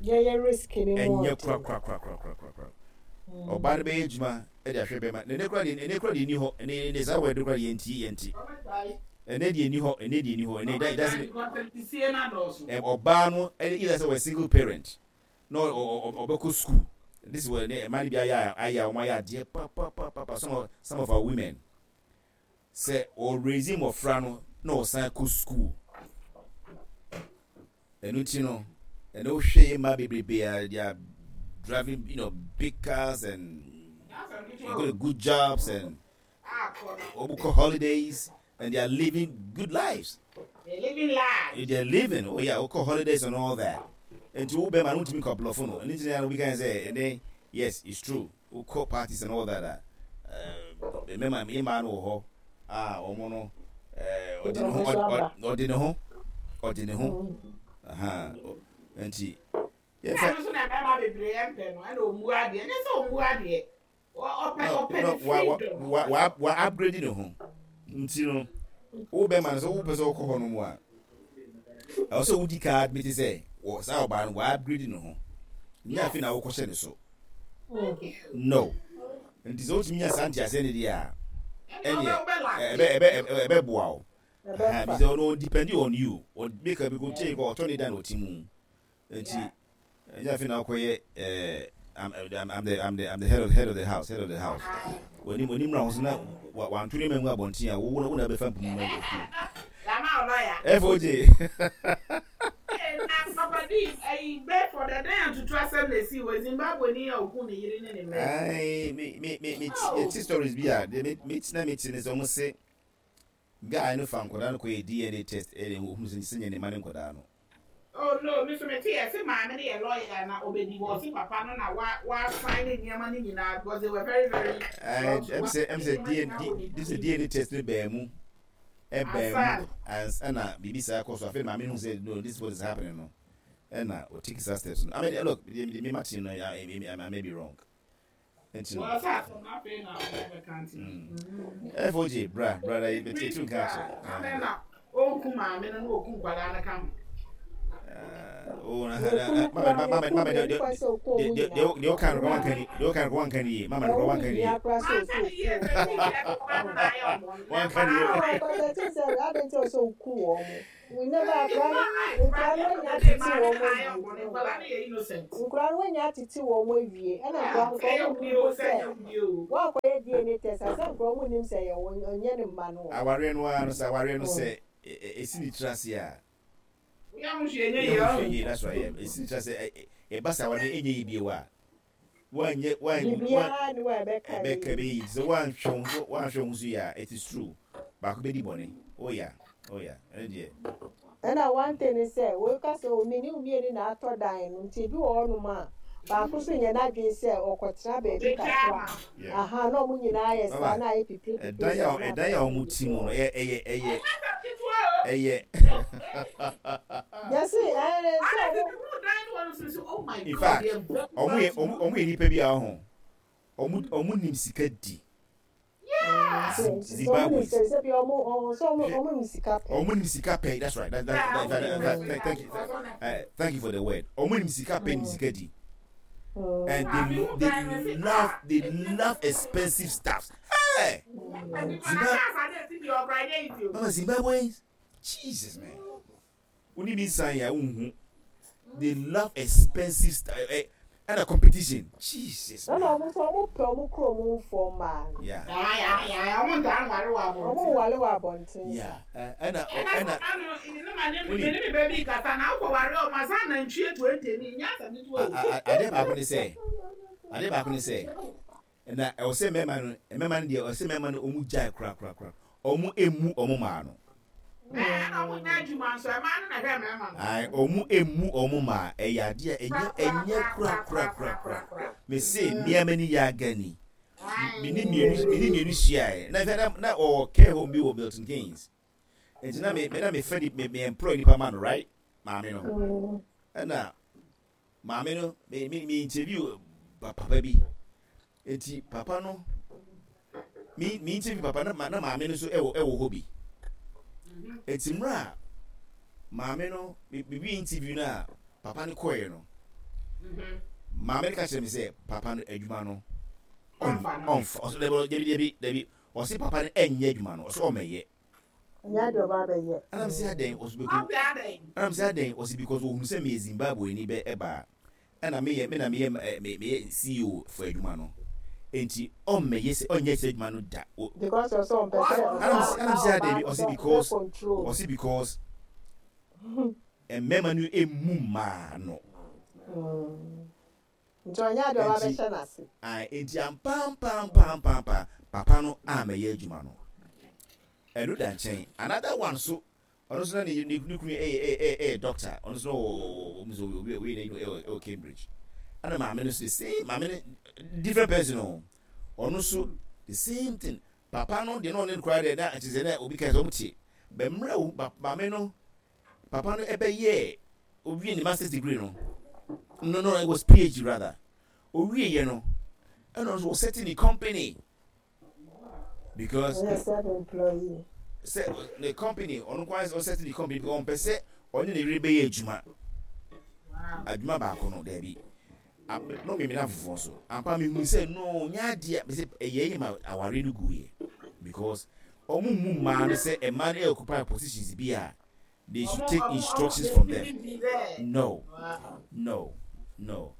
Yɛyɛ risk ne mu. Ɛnyɛ ɔden. Kora kora kora kora kora kora kora. Ɔbaa no bɛyɛ adwuma ɛde ahwɛ bɛrima na ɛnɛ kora deɛ, ɛnɛ kora deɛ ni hɔ. Ɛnɛ saa wɔ ɛde kora deɛ yɛnti ɛnɛ deɛ ni hɔ, ɛnɛ deɛ ni hɔ, ɛnɛ it doesn't Tisie na dɔɔso. Ɔbaa no ɛyɛ either sɛ ɔyɛ single parent na ɔbɛkɔ school. This is what ɛnɛ mmaa no bi ayɛ a wɔn ayɛ adeɛ papapapa. Some of our women sɛ ɔraise mmɔfra no na ɔsan kɔ school. Ɛno ti no, ɛna wohwɛ yɛ mmaa bebrebe a they are driving big cars and they go to good jobs and wɔn kɔ holidays and they are living good lives. They living life. They are living, oh yeah, wɔkɔ holidays and all that. Nti wo bɛrima no ntumi kɔ aborɔfo no ɛno nti na obi kan sɛ ɛnɛ, yes, it's true, wokɔ parties and all that a, mmarima yɛ mmaa no wɔ hɔ a wɔn no ɔde ne ho aha nti yɛfɛ. Ɛno nso na mmarima bebree mpɛ no, ɛna ɔmmu adeɛ, ɛnyɛ sɛ ɔmmu adeɛ, ɔpɛ ne freedom. Wa upgrade ne ho, nti no wo bɛrima no sɛ wopɛ sɛ wokɔ hɔ no mu a, ɛwɔ sɛ wodi ka admit sɛ wɔ saa ɔbaa no wa upgrade ne ho, nyɛ afei na wokɔhyɛ ne so no. Nti sɛ wotumi nya saa nteaseɛ ne deɛ a, ɛneɛ ɛbɛboa wo bi sɛ ɔno depend on you, ɔmeka bi ko kyɛn kɔ ɔtɔ ne da na ɔte mu. Nti ɛnyɛ afei na wokɔyɛ I'm the head of the house. W'anim na ho so na wanto ne ma ngu abɔnten a wo na bɛfa mpumu ma FOJ. Na papa di ayi bɛ for the day atutu asɛm na esi wɔ Zimbabwe ni a oku ne yere ne ne mma. Ayi, me ti stories bi a de me ti na me ti ne sɛ ɔmo se guy no fa nkɔdaa no kɔ yɛ DNA test, ɛna ohun sɛ nyɛ ne ma ne nkɔdaa no. Oh no, mi so mi ti yɛ sɛ maame no yɛ lawyer na ɔbɛ divorce papa no na wa sign ne nneɛma no nyinaa because they were very very. Ɛm sɛ DNA, this is DNA test ne bɛn mu, ɛbɛn mu ɛna biribi saa kɔ so. Afei maame no sɛ no, this is what is happening no, ɛna o take saa steps no. I mean, look, me ma ti no, I may be wrong. Nti no. Wọ́n sá asɛm afei na ɔmo bɛka nti. FOJ, bra bra na yɛ ti tu nka akyɛ. Adɛn na ɔnku maame no na ɔku nkwadaa no ka ho? Oh, na na mama mama mama de de de de o kan ko wan kan de o kan ko wan kan yi mama ko wan kan yi wan kan yi. Nkura no wanya atete wɔn awie ɛna nkura no kɔ wɔn nim mpo sɛ wɔakɔyɛ DNA test a sɛ nkura wɔn nim sɛ yɛ wɔn ɔnyɛ ne mma no. Awareɛ no ara no sɛ awareɛ no sɛ ɛsi ne tiri ase a. Woyɛ ho hwee nyɛ yie ɔho. Yie that's right yeah ɛsi ne tiri ase ɛba sɛ awareɛ ɛnyɛ yie bio a woanyɛ woan Biribiara ni hɔ a ɛbɛka ɛbɛka ɛbɛyɛ yie sɛ woanhwɛ wo ho woanhwɛ wo ho so yie a it is true baako bɛdi bɔne oh yeah oh yeah ɛno deɛ. Ɛna one thing ne sɛ woka sɛ oh me ne wo mmienu na atɔ dan no nti ebi wɔ hɔnom a baako nso nyɛ n'adwene sɛ ɔkɔtena baabi kakra aha na wɔn nyinaa ayɛ saa na ayɛ pipire pipire saa na ɛdan a wɔn ti mu no ɛyɛ ɛyɛ ɛyɛ ɛyɛ. Yɛsi ɛɛ sɛ wɔn. In fact wɔn yɛ wɔn yɛ nipa bi a ɔho wɔn wɔn nim sika di. Zimbabwe. Ɔmo nim sika pɛ. That's right. That, that, that, that, that, thank you. Thank you for the word. Ɔmo nim sika pɛ nim sika di. And they love they love expensive stuff. Hey! Zimbabwe. Mama Zimbabwe. Jesus man. Woni bi nsan ya wonhu. They love expensive stuff. Eh, ɛna competition. Jesus. Ɛna ɔmo nso ɔmo pɛ ɔmo kurom nfoɔ mmaa no. Yeah. Ɔmo ntaa nware wɔ abɔnten. Ɔmo nware wɔ abɔnten. Yeah. Ɛna ɛna. Woni. Ne me ba bi kasa na akɔ ware ɔmo asa nantwie 20 ni nya asɛm ketewa o. Adeɛ baako ne sɛ adeɛ baako ne sɛ na ɛwɔ sɛ mmarima no mmarima no deɛ ɛwɔ sɛ mmarima no ɔmo gyae koraa koraa koraa ɔmo emu ɔmo maa no. Ɛɛ na ɔmo nyɛ adwuma nso ɛmaa no na ɛhwɛ mmarima no. Ae ɔmo emu ɔmo maa ɛyɛ adeɛ a ɛnyɛ ɛnyɛ kora kora kora kora mese mmea m'ani yɛ agani me ne mmienu me ne mmienu hyiaeɛ na na na ɔwɔ care home bi wɔ Milton Keynes nti na me me na me fɛ me me employ nipa ma no right maame no ɛna Maame no, me me me interview papa bi. Eti papa no, me me interview papa na na maame no nso ɛwɔ ɛwɔ hɔ bi. Eti mmerɛ a maame no me me wi interview no a papa no kɔɛ no, maame no ka kyerɛ me sɛ papa no adwuma no ɔnfa ɔsɛ dabi dabi dabi dabi ɔsɛ papa no ɛnyɛ adwuma no ɔsɛ ɔmɛyɛ. Ɛnyɛ adeɛ ɔba abɛyɛ. Ɛna me se adɛn ɔse beko ɛna me se adɛn ɔse because ohunu sɛ meyɛ Zimbabwe ni bɛ ɛba ɛna meyɛ me na meyɛ me meyɛ CEO for adwuma no enti ɔmmɛyɛ sɛ ɔnyɛ sɛ adwuma no da o Because ɔsɛ ɔmpɛ sɛ ɛna me se ɛna me se adɛn bi ɔse because ɔse because mmarima no emu mmaa no. Nti ɔnyɛ adeɛ ɔba bɛhyɛ n'ase. Ae, enti ampaampaampaampaa papa no ammɛyɛ adwuma no. Ɛno da nkyɛn. Another one nso, ɔno nso na ne ne kunu yɛ yɛ yɛ doctor. Ɔno nso na ɔwɔ ɔmo nso obi obi n'adwuma ɛwɔ ɛwɔ Cambridge. Ɛna maame no nso the same maame no different person o. Ɔno nso the same thing. Papa no deɛ na ɔne no koraa deɛ na kyerɛ sɛ na obi ka sɛ ɔmo te. Bɛ mmerɛ wo maame no Papa no ɛbɛyɛɛ owie ne masters degree no no no it was PhD rather owie yɛ no ɛna ɔno ɔsɛte ne company because self employee sɛ ne company ɔno kwan ɔsɛte ne company because ɔmpɛ sɛ ɔne ne yere bɛyɛ adwuma adwuma baako no daabi no mmemme afoforɔ nso ampa mehu sɛ no nyɛ adeɛ a sɛ ɛyɛ yɛ ma aware no guiɛ because ɔmo mu mmaa no sɛ mmaa no occupy positions bi a they should take instructions from them no no no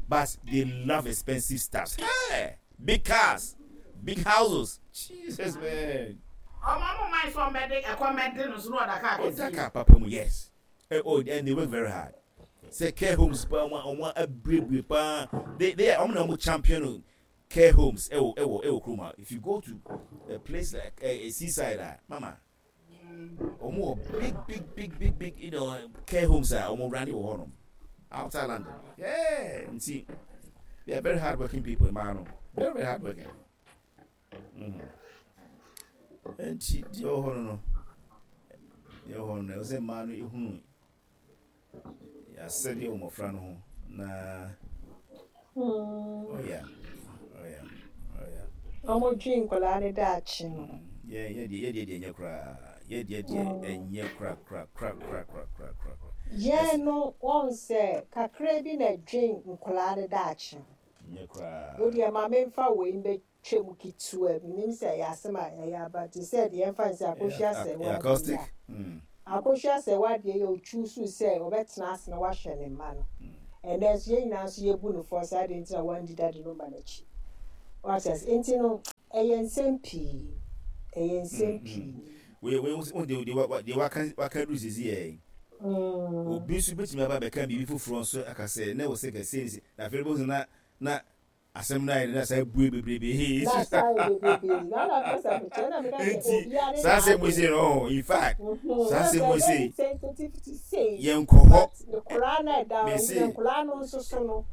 but they love expensive stuff hey big cars big houses jesus man. Ọmọ ọmọ máa sọ ọmọdé ẹkọ mẹdé no so na ọda kaa kẹsí. Ọda kaa papa mu yes eh, oh and they work very hard sɛ care homes paa wɔn wɔn abuebue paa they they are wɔn na wɔn champion care homes ɛwɔ ɛwɔ ɛwɔ kurom ha if you go to a place like a seaside a mama wɔn wɔ big big big big big you know care homes a wɔn run wɔ hɔnom outside London yeah nti they are very hard working people mmaa no very very hard working mm. nti deɛ ɛwɔ hɔ no no deɛ ɛwɔ hɔ no no ɛwɔ sɛ mmaa no ehunu Yɛasɛdeɛ wɔ mmɔfra no ho na oh yeah oh yeah oh yeah. Wɔn dwen nkwadaa no daakye no. Yɛ yɛ deɛ yɛ deɛ deɛ ɛnyɛ koraa yɛ deɛ deɛ ɛnyɛ kora kora kora kora kora kora kora. Yɛn no wɔn sɛ kakra bi na ɛdwen nkwadaa no daakye ho. Nyɛ koraa. Wo deɛ ma memfa wei mbɛtwa mu ketewa bi, menim sɛ ɛyɛ asɛm a ɛyɛ aba te sɛ deɛ yɛmfa no sɛ Akosua Asɛwa adeɛ yi a. Akosua Asɛwa adeɛ yi a ɔchuusuu sɛ ɔbɛtena ase na wahwɛ ne mma no. Ɛnnɛ nso yɛn nyinaa nso yɛbu no fɔ sɛ adɛn nti na wandi daddy no mma no akyi. Wate ase? Nti no ɛyɛ nsɛm pii. Ɛyɛ nsɛm pii. Wei wei wo deɛ deɛ deɛ waka waka duru sisi yɛ yi. Obi nso betumi aba abɛka biribi foforɔ nso aka sɛ na wɔ sɛ kɛse ne na afei bɛhu sɛ na na asɛm no ayɛ na saa bue bebrebe. Na saa yɛ bebrebe. Na na pɛ sɛ mekyerɛ na meka sɛ Nti obiara ne saa asɛm wei n'adwene. sei no oh, in fact saa asɛm wei sei Sensitivity sei. yɛnkɔ hɔ. But koraa na ɛda Mese nkoraa no nso so no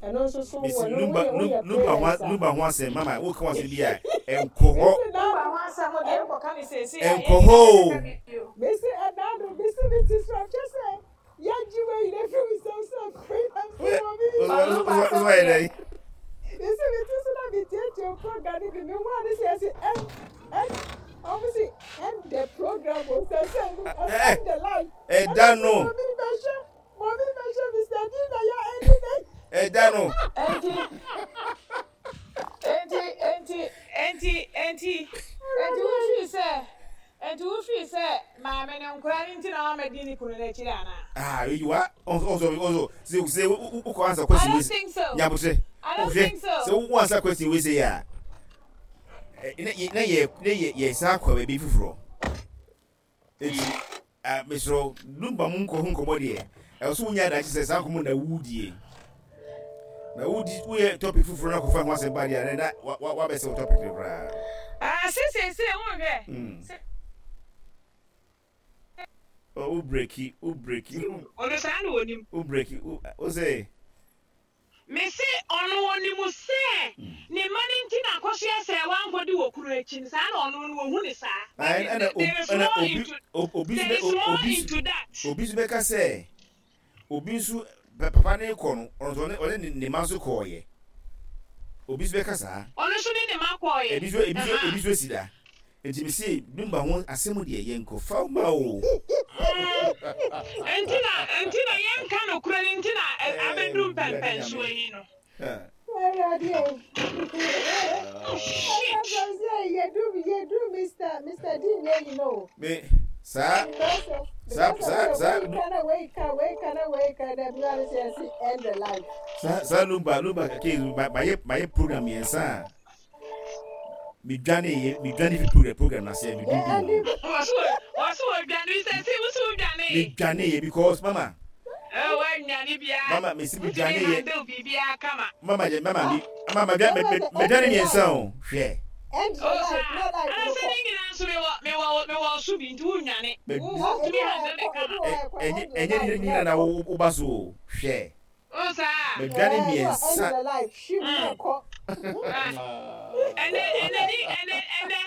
ɛno nso so mese wɔ no numba woyɛ woyɛ numba ho parents a. numba ho asɛm mama woka ho asɛm bi a ɛnkɔ hɔ. Mese na Numba ho asɛm deɛ nkɔka ne seesei a Ɛnkɔ yɛn hɔ nyinaa o. yɛbɛka bi bio. Mese ɛda no mese me ti so ɛkyɛ sɛ yɛgye wei nyina firi me nsam sɛ free na mese wɔ me Ba numba asɛm deɛ. Mese me ti so na metietie program no bi me ho ade sɛ yɛse ɛn ɛn ɔmo se end the program o sɛ sɛ end the life. Ɛda no. Mɔmi bɛhwɛ mɔmi bɛhwɛ Mr. D na yɛ ɛni dɛ. Ɛda no. Enti enti enti enti enti enti wofii sɛ enti wofii sɛ maame no nkora no nti na wamɛdi ne kunu no akyiri anaa? Ah, you are also also also sɛ sɛ wokɔ ansa I question don't wei think so. nyabotrɛ I don't wohwɛ think so. sɛ wo ansa question wei sɛ yɛ a na yɛ na yɛ na yɛ yɛ san akɔ baabi foforɔ eti ah mesrɛ wo lumba mu nkɔ ho nkɔmmɔ deɛ ɛwɔ so wonya adagye sɛ saa nkɔmmɔ na wodie na wodi woyɛ topic foforɔ na kɔfa ho asɛm ba deɛ na na wabɛsɛ wo topic no koraa. Ah, sɛ seesei wonhwɛ sɛ. Oh, wo breki, wo breki. Ɔno saa na onim. Wo breki, wo sɛ. Mese ɔno ɔnim sɛ ne mma no nti na Akosua sɛɛ wankɔdi wɔ kunu akyi no saa na ɔno no ɔhu no saa but there is more into there is more into that. Obi nso bɛka sɛ obi nso papa no rekɔ no ɔno nso ɔne ne mma nso kɔɔyɛ obi nso bɛka saa. Ɔno nso ne ne mma kɔɔyɛ. Ebi nso ebi nso ebi nso si da. Nti me se Dumba ho asɛm deɛ yɛn kɔ fa ma o. Nti na nti na yɛn nka nokorɛ no nti na abɛduru mpɛnpɛnsoɔ yi no. Awurade o. Shit. Yɛdu yɛdu Mr. Mr. D nyɛ yi no. Me saa saa saa saa. Wei ka na wei ka wei ka na wei ka na bi wa ne sɛ yɛsi end the life. Saa saa Lumba Lumba case ma ma yɛ ma yɛ program mmiɛnsa a. Medwaneeɛ, medwane fi program program no aseɛ, medwendwen ho. Wɔso wɔso wɔdwane sɛ sɛ woso wodwane. Medwaneeɛ because mama. Ɛɛ wɔannwane biara. Mama mesi Wotumi medwaneeɛ. handle biribiara kama. Mama yɛ mama mi mama medwa me me medwane mmiɛnsa o hwɛ. O saa anasɛ ne nyinaa nso mewɔ mewɔ mewɔ so bi nti wonnwane. Wo wotumi handle ne kama. Ɛnyɛ ɛnyɛ ne nyinaa na wo woba so o hwɛ. O saa. Medwane mmiɛnsa. Ɛnɛ ɛnɛ ni ɛnɛ ɛnɛ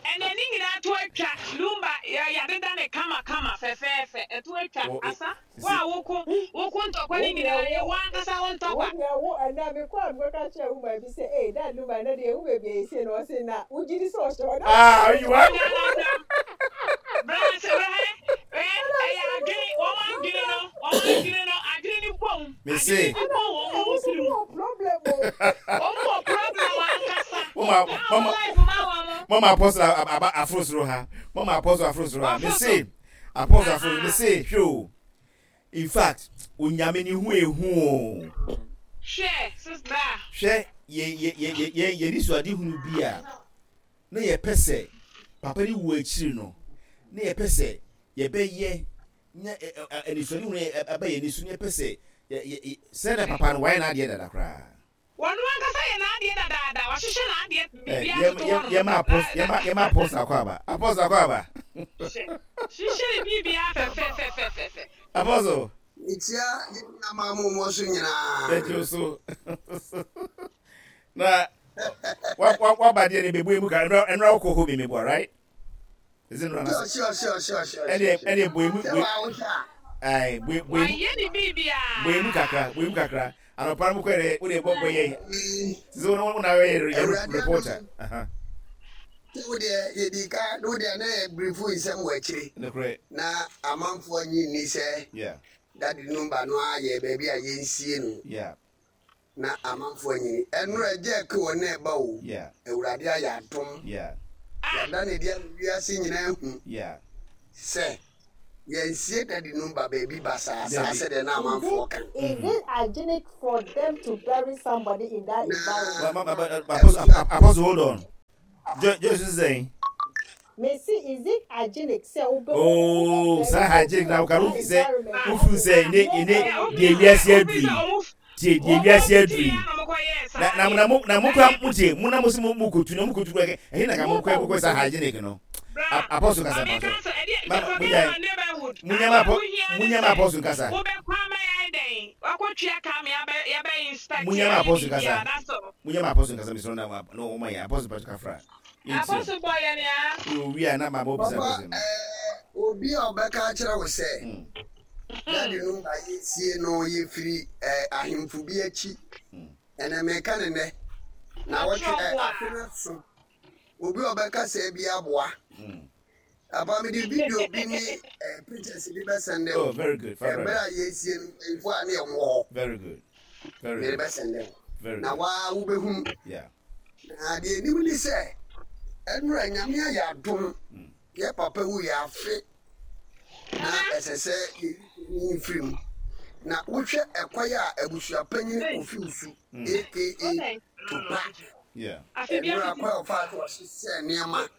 ɛnɛ ne nyinaa to atwa lumba yɛ yɛadeda ne kama kama fɛfɛɛfɛ ɛto atwa asa wo a woko woko ntɔkwa ne nyinaa yɛ wo ankasa wo ntɔkwa. Wo deɛ wo ɛnɛ mekɔ a mekɔka kyerɛ wo maa bi sɛ ee dad lumba ɛnɛ deɛ ehu baabi a yɛsie no ɔse na wogye di sɛ ɔhyɛ hɔ na. Ah you are. Bra sɛ bra hɛ ɛyɛ adwene wɔn adwene no wɔn adwene no adwene no bom Mese. adwene no bom wɔn wɔn tirim wɔ problem o. Wɔn wɔ problem ankasa. Mama Na wɔn mama life ma wɔn. mama apostle aba aforo soro ha mama apostle aforo soro ha Wɔforo mese so. apostle aforo mese hwɛ o in fact onyame ne ho ehu o. Hwɛ sister. Hwɛ yɛ yɛ yɛ yɛ yɛ yɛ nisuadehunu bi a na yɛpɛ sɛ papa ne wu akyiri no na yɛpɛ sɛ yɛbɛyɛ nya anisoadehunu aba yɛn ani so na yɛpɛ sɛ yɛ yɛ sɛ na papa no wayɛ n'adeɛ dada koraa. Ɔno ankasa yɛ n'adeɛ dadaada, wahyehyɛ n'adeɛ, biribiara toto hɔ nom. Yɛma apɔs yɛma yɛma apɔs akɔ aba apɔs akɔ aba. Hyehyɛ hyehyɛ ne biribiara fɛfɛfɛfɛfɛ. Apɔsol. Mekyia yɛn nuamaa mo mo so nyinaa. Yɛgye wo so. Na wa wa waba deɛ ne bɛbu emu ka ɛnura ɛnura wokɔ hɔ bi meboa right? Is it nura Sure sure sure sure sure. Ɛne ɛne bɔ emu Sɛ waa wohwɛ a. Ayi bɔ emu. Wayɛ ne biribiara. Bɔ emu kakra bɔ emu kakra anɔpa no mo kɔ yɛ wo de bɔ bɔ yɛ sisi wo na yɛ yɛ reporter. Sɛ wo deɛ yɛdii ka na wo deɛ na yɛ brifo nsɛm wɔ akyire. Nokorɛ. Na amanfoɔ nnye nni sɛ Yeah. Daddy Numba no ara yɛ baabi a yɛnsie no. Yeah. Na amanfoɔ anyini. Ɛnora agya Aku wɔ na ɛba o. Yeah. Awurade ayɛ adom. Yeah. Yɛada no adi ama wiase nyinaa ahu Yeah. sɛ yɛnsie Daddy Numba baabi basaa saa Dabi. sɛdeɛ na Is amanfoɔ it ka. is it hygienic for them to bury somebody in that Na environment? Ma, ma, ma, ma, Apostle, abusua. Apostle, hold on. Joyce sɛ. Mesi is it hygienic sɛ wobɛ Oh, wobɛ saa bury obi hygienic na wɔ woka that wofi sɛ environment wofi sɛ ase ne na ne ɛyɛ deɛ wiase aduru yi tie deɛ wiase aduru yi na na na mo na mo kura mo tie mo na mo si mo mo kotu na mo kotu kura ɛhe na ka mo kɔ kɔ sa hygienic no apɔso kasa pa so ma mo nya mo nya ma apɔ mo nya ma apɔso kasa mo nya ma apɔso kasa mo nya ma apɔso kasa mesoro na na wɔn yɛ apɔso pa so kafra Apostle bɔ yɛn a. Owi a na ma mo bisa Papa, question no. eh, obi a ɔbɛka akyerɛ wo sɛ daddy no ba yɛsie no yɛfiri eh, ahemfo bi akyi. Ɛnɛ meka ne nnɛ na wɔtwe eh, afe no so. Obi a ɔbɛka sɛ bi aboa. Papa mede video bi ne eh, pictures bi bɛsɛnde Oh, wo. very good. Ɛberɛ Very a yɛsie no mpanyinfoɔ a ne yɛn wɔ hɔ. Very good. Very Mede good. bɛsɛnde wo. Very Na good. waa wobɛhunu. Yeah. Na deɛ ɛnim ne sɛ ɛnora Nyame ayɛ adom yɛ papa wu yɛ afe na ɛsɛ sɛ yɛyi mfiri mu na wohwɛ ɛkwan a abusuapanyin Kofi Osu aka Tupac Yeah. ɛnora kwan a ɔfaa so ɔhyehyɛɛ nneɛma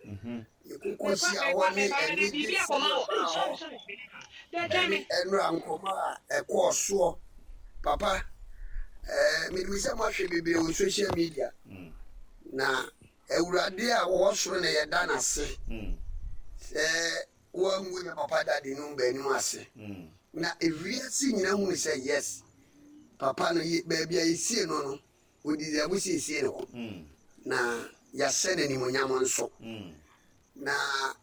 yɛkokɔ hyia hɔ ne anigye sɛm ɛbaa hɔ ɛne ɛnora nkɔmmɔ a ɛkɔɔ soɔ papa ɛɛ menim sɛ moahwɛ bebree wɔ social media na awurade a wɔwɔ soro na yɛda n'ase sɛ wɔangu yɛ papa dade no baanim ase na ewiase nyina hunu sɛ yes papa no baabi a yɛsie no no wɔdi dɛ siesie ne hɔ na yɛahyɛ no animonyam nso na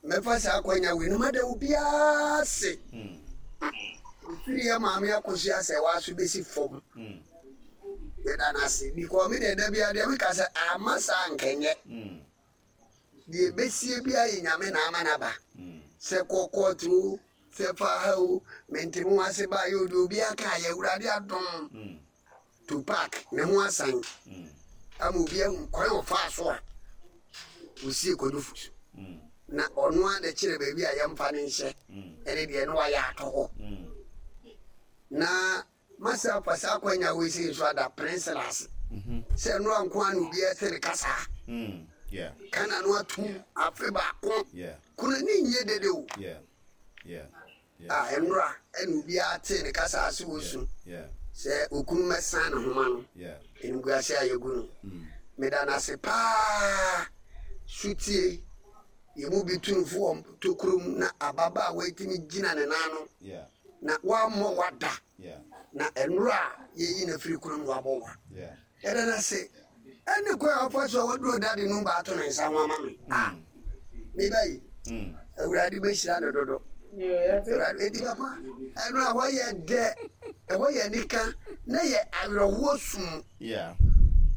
mɛfa saa akwanya wei no mada obiara ase ofiri yɛ maame akosua sɛ waaso bɛsi fam yɛda no ase because me deɛ da biara deɛ meka sɛ ama saa nkɛnyɛ deɛ ɛbɛsie biara yɛ nyame na ama no aba sɛ kɔkɔɔto o sɛ fa ha o mente ho ase ba yɛ ode obiara ka yɛ awurade adom Tupac ne ho asan ama obi ahu kwan a ɔfaa so a osie Kwadwo Fosu na ɔno ara na kyerɛ baabi a yɛmfa no nhyɛ ɛne deɛ na wayɛ ato hɔ na masa afa saa akwanya wei sei nso ada Prince ase sɛ ɛno anko a na obi ɛte ne kasaa kana no atum afe baako kuna ne nyɛ dede o A Nnora na obiara tee ne kasa ase wɔ su sɛ okunu mmɛsan ne homa no, animguase a yɛagu no. Meda no ase paa. Sotie, yɛn mu bi tu no fo wɔ tokuro mu na ababaawa yi tumi gyina ne nan ano na wammɔ wa da. Na nnora a yɛyi no afiri kurom na wabɔ wa. Yɛda no ase ɛne kwan a ɔfa so a waduro dade no ba ato ne nsa ho ama me. Ah, me ba yi, Awurade bɛhyira no dodo. Awurade, enti papa, ɛno a ɛhɔ yɛ dɛ, ɛhɔ yɛ anika, na yɛ awerɛhoɔ sum,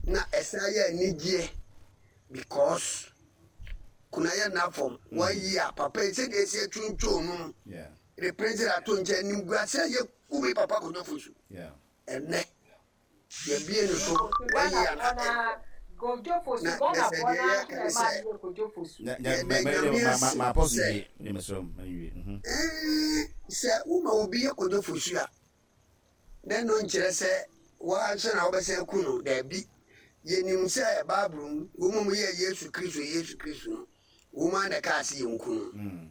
na ɛsan yɛ anigyeɛ because kuna yɛ nna fam, wayi a papa yi sɛdeɛ ɛsi atwintwon no mu, de pɛnsere ato nkyɛn, animguase a yɛgu me papa Kojo Fosu ɛnnɛ. Yɛbue no so wayi ana ɛ. Na na sɛ deɛ yɛka ne sɛ yɛda Nyame ase sɛ ɛɛ sɛ woma obi yɛ Kojo Fosu a na ɛno nkyerɛ sɛ woara nso na wobɛsan aku no. Daabi. Yɛnim sɛ Bible mu wɔn a wɔyɛɛ Yesu Kristo Yesu Kristo no Wɔn ara na ɛkaa se yɛnku no.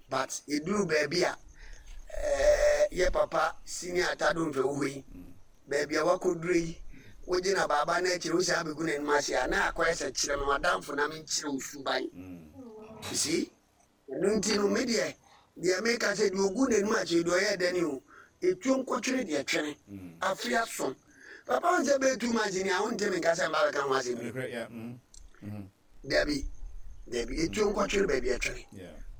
But yɛduruu baabi a eh, yɛ papa senior Atado Mfɛwuhɔ yi, baabi a wakɔduro yi, wogye na baaba no akyire wosan bɛgu n'anim ase a, na akɔyɛ sɛ kyerɛ me w'adamfo na menkyerɛ wo suban. You see? Ɛno nti no, me deɛ, deɛ meka sɛ deɛ ɔgu n'anim ase deɛ ɔyɛ dɛne o, ɛtuo nkɔtwene deɛ twene. Afe aso. Papa wo sɛ bɛyɛ 2 months ni a wonte me nka sɛ mba bɛka ho asɛm bi. Dabi, dabi, etuo nkɔtwere baabi ɛtwere,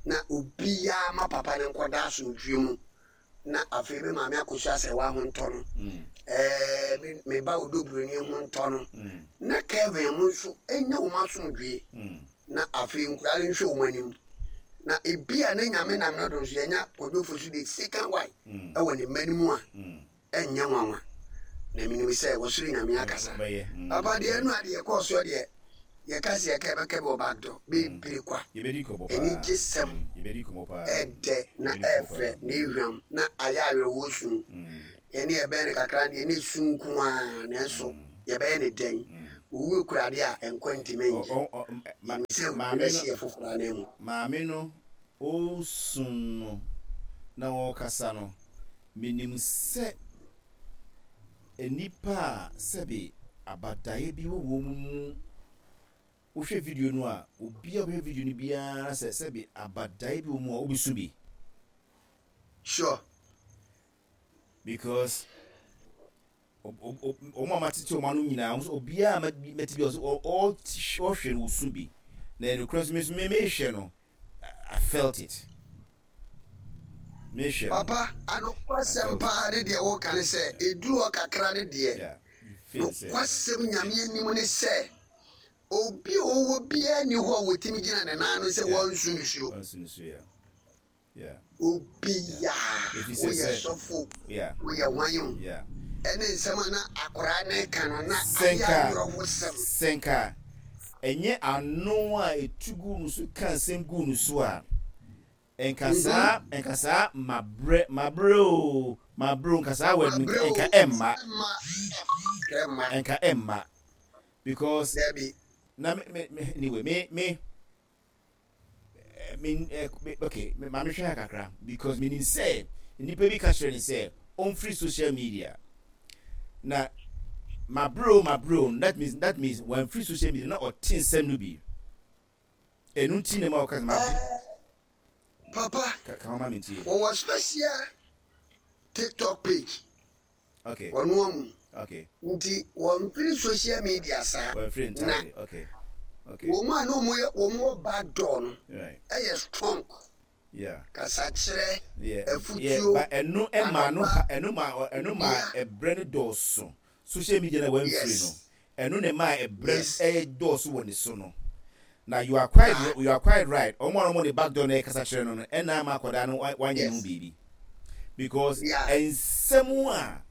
na obiara ma papa no nkɔda asomdwoeɛ mu, na afei me maame akɔsu asɛwa ho ntɔ no, ɛɛ me me ba odoburoni ho ntɔ no, na Kevin mo nso nya wɔn asomdwoeɛ. Na afei nkwadaa no nhwɛ wɔn anim. Na ebia na Nyame nam no do nso yɛanya Kwadwo Fosu the second wife wɔ ne mma no mu a, ɛnyɛ nwanwa. Na menim sɛ wɔsoro Nyame akasa. Papa deɛ ɛno a deɛ ɛkɔɔ soɔ deɛ yɛka sɛ yɛka yɛbɛka bi wɔ back door bebree kwa. Anigyesɛm ɛdɛ na ɛfɛ na ehwam na ayɛ awerɛhoɔ su. Yɛne yɛbɛn no kakra deɛ na esu nko ara nanso yɛbɛyɛ no dɛn? Owu kura ade a nkwa ntumi nnye. Yenim sɛ owu bɛhye yɛn foforo ananmu. Maame no ɔresu no na ɔrekasa no, menim sɛ nnipa a sɛbe abadaeɛ bi wɔ wɔn mu, wohwɛ video no a, obi a ɔbɛhwɛ video no biara sɛ sɛbe abadaeɛ bi wɔ mu a, wobɛsu bi. Sure. Because wɔn a matete wɔn ano nyinaa, wɔn nso obiara a mɛte bi ɔsɛ ɔhwɛ no osu bi. Na ɛnokora nso me nso me mehwɛ no, I felt it. Mehwɛ no. Papa, anokwasɛm paa ne deɛ woka ne sɛ, ɛduru hɔ kakra ne deɛ, nokwasɛm Nyame anim ne sɛ, obi a ɔwɔ biara nni hɔ a wɔtumi gyina ne nan ano sɛ wɔnsu nisuo. Wɔnsu nisuo, yeah. Obiaa, woyɛ sɔfo, woyɛ hwan o, ɛne nsɛm a na akoraa no reka no na ayɛ awerɛhosɛm. Sɛ nka ɛnyɛ ano a ɛtu guu no so ka nsɛm guu no so a, nka saa, nka saa mabrɛ, mabrɛ o, mabrɛ o, nka saa word no, nka ɛmma. Nka ɛmma. Because, na me, me, anyway, me, me, me eh, okay ma mehwɛ ha kakra because menim sɛ nnipa bi ka kyerɛ ne sɛ ɔmfiri social media na mabrɛ o mabrɛ o that means that means wamfiri social media na ɔte nsɛm no bi ɛno nti na ma ɔka sɛ mabrɛ eh, papa ka ho ma mentie wɔwɔ special tiktok page Okay. Wɔn amu. Okay. Nti wɔmfiri social media saa. Wɔmfiri entirely. Okay. Okay. Wɔn a na wɔn yɛ wɔn wɔ back door no. Right. Ɛyɛ strong. Yeah. Kasakyerɛ. Yeah. Afutuo. Yeah. But ɛno ɛma no ɛno ma ɛno ma ɛbrɛ no dɔɔso. Social media na wɔmfiri no. Yes. Ɛno na ɛmaa ɛbrɛ Yes. dɔɔso wɔ ne so no. Na you are quite Ah. you are quite right. Wɔn a wɔn ne back door na ɛkasa kyerɛ no no ɛna ama akwadaa no wanyɛ ne ho Yes. biribi. Because Yeah. nsɛm a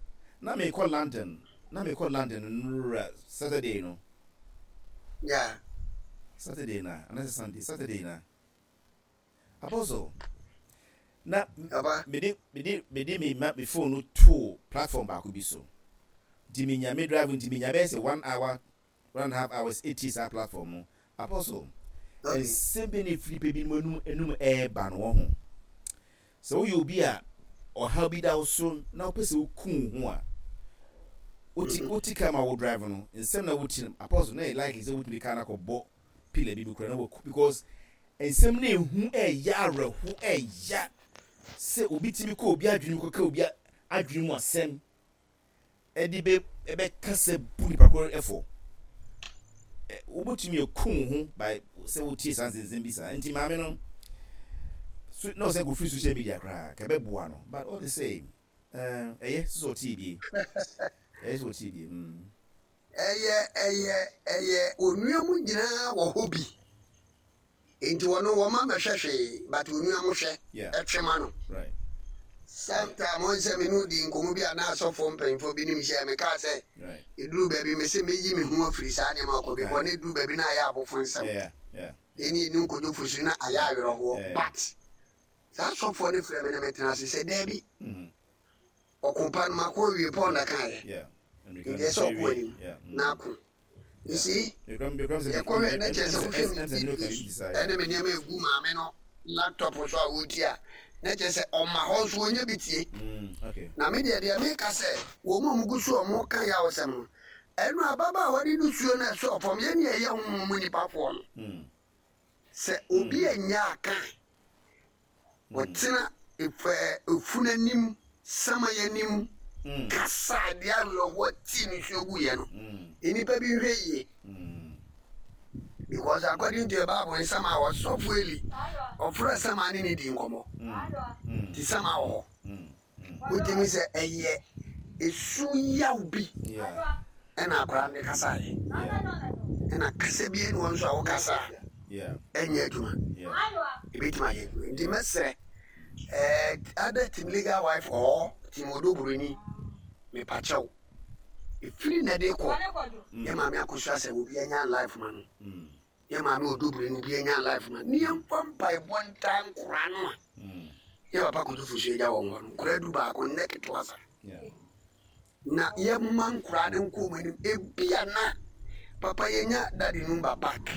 na mekɔ London na mekɔ London nnora Saturday no. Yeah. Saturday na anaasɛ Sunday Saturday na. Apostle, na mede mede mede me ma me phone no too platform baako bi so. Nti menya me drive nti menya bɛyɛ sɛ one hour 1.5 hours etie saa platform no. Apostle, nsɛm bi na efiri nipa binom anum anum ɛɛba no wɔ ho. Sɛ woyɛ obi a ɔhaw bi da wo so na wopɛ sɛ woku wo ho a, wote wote car ma wo drive no, nsɛm na wotie no, Apostle, na ɛyɛ likely sɛ wotumi de car no akɔbɔ pillar bi mu koraa na waku because Nsɛm no ehu ɛɛya awerɛho ɛɛya sɛ obi tumi kɔ obi adwene mu kɔka obi adwene mu asɛm ɛde bɛ ɛbɛka sɛ bu nipa koro ɛfɔ. Wobɛtumi aku wo ho by sɛ wotie saa nsɛnsɛm bi saa. Nti maame no so na ɔsɛ kɔfiri social media koraa ka ɛbɛboa no but all the same ɛyɛ sɛ sɛ ɔtie bie ɛyɛ sɛ ɔtie bie mm. Ɛyɛ ɛyɛ ɛyɛ onua mu nyinaa wɔ hɔ bi nti wɔno wɔma mɛhwɛ hwee but onua mo hwɛ ɛtwe ma no sometime wɔn sɛ me ne odi nkɔmɔ bi a na asɔfoɔ mpanyinfoɔ bi nim hyɛ me kaa sɛ eduru baabi me se meyi me ho afiri saa nneɛma kɔ bi kɔ na eduru baabi na ayɛ abofo nsɛm ɛne enu nkodwo fusu na ayɛ awerɛhoɔ but saa asɔfoɔ no frɛ me na metena ase sɛ daabi. Ɔko pa no mako awie Paul na kaeɛ nti ɛsɛ ɔko anim na ako. You see yɛkɔhwɛ na kyerɛ sɛ wohwɛ me videos ɛne me nneɛma egu maame no laptop so a wɔreti a na kyerɛ sɛ ɔma hɔ nso wɔnya bi tie. Na me deɛ deɛ meka sɛ wɔn a wɔgu so a wɔka yawsɛm no ɛno ababaawa de nusuo no ɛsɔɔ fam yɛn ne ɛyɛ honhom mu nipafoɔ no sɛ obi anya aka Wɔtena efunu anim, saman anim, kasa de awerɛhoɔ tee nisuo guiɛ no, nnipa bi nhwɛ yie. Because according to the Bible, nsɛm a ɔsɔfo Eli ɔfrɛ saman ne ne di nkɔmmɔ. Nti saman wɔ hɔ. Wotumi sɛ ɛyɛ esu yaw bi ɛna akwadaa no de kasaeɛ. Ɛna kasa bi ɛni hɔ nso a wokasa a. Ɛnyɛ adwuma. Ebetumi ayɛ adwuma. Nti mɛsrɛ ɛɛ either team legal wife or team Odo Buroni mepakyɛw. Efiri na ɛde kɔ yɛ maame akosua sɛ obi anya life ma no. Yɛ maame Odo Buroni obi anya life ma no. Ne yɛmfa mpaebɔ ntaa nkora no a. Yɛ papa Kojo Fosu agya wɔn hɔ no nkora du baako nnɛ ketewa sa. Na yɛmma nkoraa no nkɔ wɔn anim. Ebia na papa yɛnya daddy number back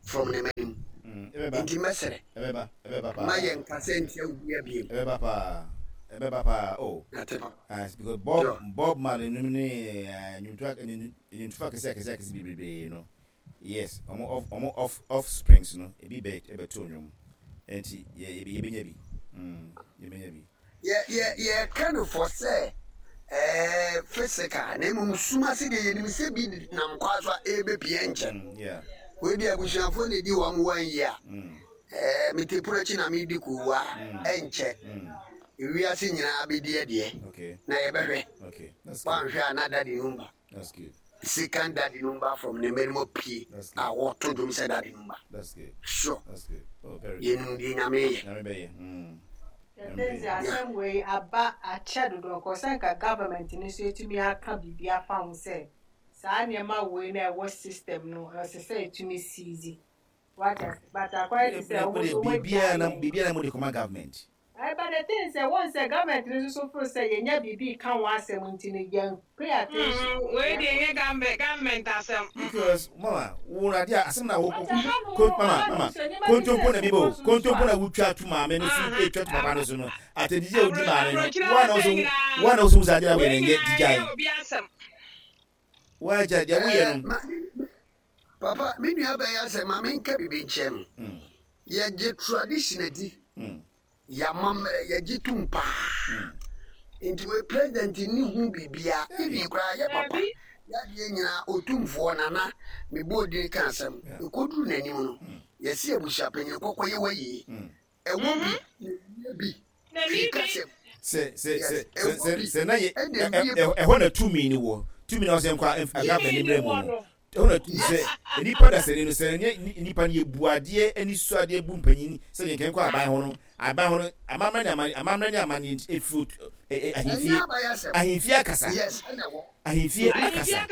from ne m'anim. Mm, Nti mɛsrɛ. Ɛbɛba, ɛbɛba paa. Ma yɛn kasa ntia obi abiem. Ɛbɛba paa, ɛbɛba paa oh. Nate papa. Ah, because Bob sure. Bob Marley nom ne eh, nnwomto nnwomtofo akɛse akɛse akɛse bebrebe no. Yes, ɔmo off ɔmo off offsprings no ebi bɛ ɛbɛto nnwom. Nti yɛ yɛbɛnya bi. Mm, yɛbɛnya bi. Yɛ yɛ yɛka no for sɛ ɛɛ physical na mmom sum ase deɛ yɛnim sɛ bi nam kwan so a ɛrebɛpie nkyɛ. Mm, Wei deɛ abusuafoɔ na ɛdi wɔn wɔn yi a mm. ɛɛ mete pono akyi na medi kuwa mm. ɛnkyɛ. Ewiase nyinaa bɛdi ɛdeɛ na yɛbɛhwɛ. Woanhwɛ a na daddy number. Second daddy number from ne mmarima pie a wɔto dwom sɛ daddy number. Sure. Oh, Yɛnim deɛ Nyame yɛ. Ɛsɛ asɛm wei aba akyɛ dodo nka sɛ nka government no nso etumi aka biribi afa ho sɛ saa nneɛma wei na ɛwɔ system no ɛsɛ sɛ etumi seize wata but akɔyɛ te sɛ wɔn nso wɔn agya yɛn. Biribiara na mo de kɔma government. But the thing sɛ wɔn sɛ government no nso so feel sɛ yɛnya biribi ka ho asɛm nti no yɛn pay attention. Wei deɛ ɛnyɛ government government asɛm. Because mama wo na adeɛ asɛm na wo ko mama mama kontompo na bi bɔ kontompo na wotwa to maame no so etwa to papa no so no atɛdidi a wodi maame no wa na woso wa na woso wusa adeɛ na wɔyɛ nyɛ digyae wagya deɛ woyɛ no. Papa me nua bɛyɛ asɛ ma menka biribi nkyerɛ no yɛgye tradition adi. Yɛamammerɛ yɛgye tom paa nti wei president nni ho biribiaa even koraa yɛ papa yadeɛ nyinaa otumfoɔ nana mebɔɔ din ka asɛm ɛkɔduru n'anim no yɛse abusuapanyin kɔkɔ yɛ wayie ɛwɔ bi na bi firi kasɛm sɛ sɛ sɛ sɛ sɛ na yɛ ɛhɔ na tumi ni wɔ tumi na ɔsɛ nkɔ agaba ne mmerɛ mu no Ɛhɔ na tumi sɛ nnipa dasani no, sɛ ɛnyɛ nnipa no yɛbu adeɛ ani sɔ adeɛ bu mpanyin sɛ yɛn kɛnkɔ aban ho no, aban ho no, amammerɛ ne amanneɛ, amammerɛ ne amanneɛ nti ɛfiri ahemfie, ahemfie akasa, ahemfie akasa,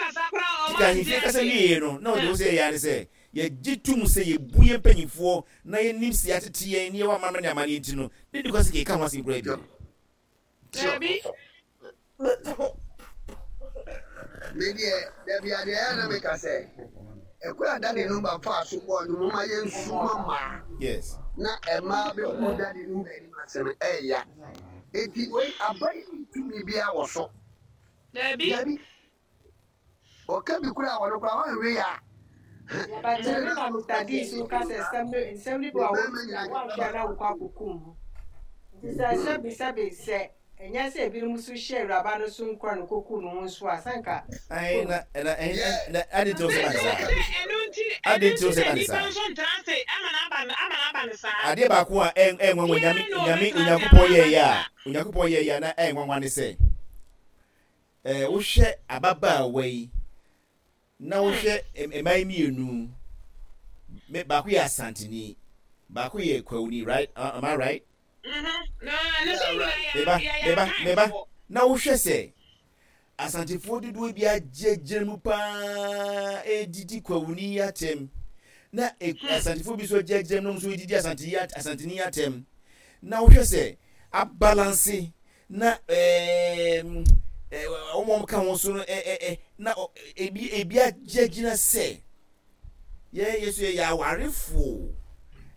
tete ahemfie kasa wieɛ no, na ɔde wo sɛ yɛyɛ ne sɛ yɛgye tom sɛ yɛbu yɛn mpanyinfoɔ na yɛnim sɛ yɛatete yɛn ne yɛwɔ amammerɛ ne amanneɛ nti no, ne di kwa sɛ kɛka ho asɛm koraa bio. Dabi. Me deɛ, dabi adeɛ ɛyɛ na meka sɛ, ɛkwan a daddy no ba faa so bɔɔ no moma yɛnsu ma mmaa. Yes. Na mmaa bɛgu daddy no ba anim ase no ɛyɛ. Eti wei aba yi tumi biara wɔ so. Dabi. Dabi. Ɔka bi koraa a ɔno koraa wanwe yɛ a. But ɛno na Mr. D so ka sɛ nsɛm no nsɛm no bi wɔ a woanhwɛ a na wokɔ akɔkum ho. Nti sɛ sɛbi sɛbi sɛ ɛnyɛ sɛ ebinom nso hyɛ awuraba no so nkura no kɔku no ho nso a sɛ nka. Ayi na na na adi nti ɔsɛ ba ne saa. Ɛno nti Adi nti ɔsɛ ba ne nnipa saa. nso ntena ase ama n'aba ama n'aba ne saa. Adeɛ baako a ɛnwanwa nyame Obiara na nyame ɔbɛtena ase Onyankopɔn ama yɛɛyɛ n'aba ne a saa. Onyankopɔn yɛɛyɛ a na ɛnwanwa ne sɛ. Eh, wohwɛ ababaawa yi na wohwɛ mmaa yi mmienu, me baako yɛ Asanteni, baako yɛ Kwawuni, right? Uh, am I right? Mm-hmm. Na, na sɛ nyinaa yɛ Meba, yɛ meba, meba. akanfoɔ. Na wohwɛ sɛ Asantefoɔ dodoɔ bi agyinagyina mu paa redidi Kwawuni yi atɛm, na e, Asantefoɔ bi nso agyinagyina mu na wɔn nso redidi Asante yi Asanteni yi atɛm. Na wohwɛ sɛ abalanse na ɛɛm ɛɛ wɔn a wɔka ho so no ɛ ɛ na ebi ebi agyinagyina sɛ yɛn yɛ so yɛyɛ awarefoɔ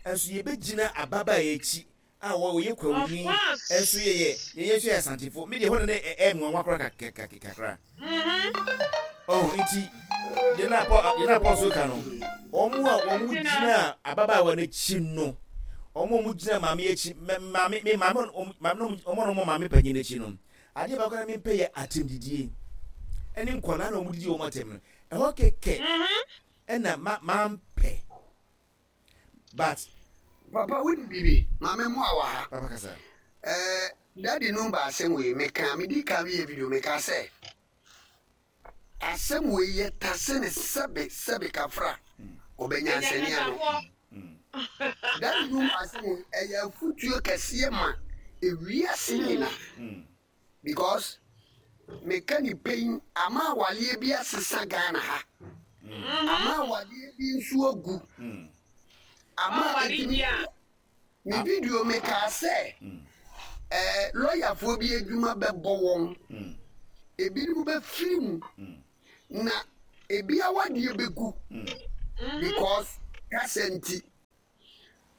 nso yɛbɛgyina ababaa yi akyi a wɔyɛ kwawuni nso yɛyɛ yɛyɛ nso yɛ asantefoɔ mi deɛ hɔ na ne ɛ nwanwa koraa kakra ɔho nti deɛ na apɔ deɛ na apɔ so ka no wɔn a wɔn gyina ababaawa n'akyi no wɔn a wɔn gyina maame akyi maame me maame maame no wɔn a wɔn maame panyin n'akyi no adeɛ baako na mempɛ yɛ atɛmdidie ɛne nkwadaa na wɔn didi wɔn atɛm no ɛhɔ kɛkɛ ɛna ma mampɛ but. Papa wonim biribi? Ma me mmoa wɔ ha. Papa kasa. Ɛɛ daddy no ba asɛm wei meka medi kan meyɛ video meka sɛ asɛm wei yɛ tase ne sɛbe sɛbe kafra ɔbɛ nyansani ano. That room asɛm yi ɛyɛ afutuo kɛseɛ ma ewiase nyinaa because meka ne pɛn ama awaleɛ bi asesa Ghana ha ama awadeɛ bi nso agu ama ɛtumi me video mekaa sɛ ɛɛ lɔyafoɔ bi adwuma bɛbɔ wɔn ebinom bɛfiri mu na ebi awadeɛ bɛgu because kasa nti.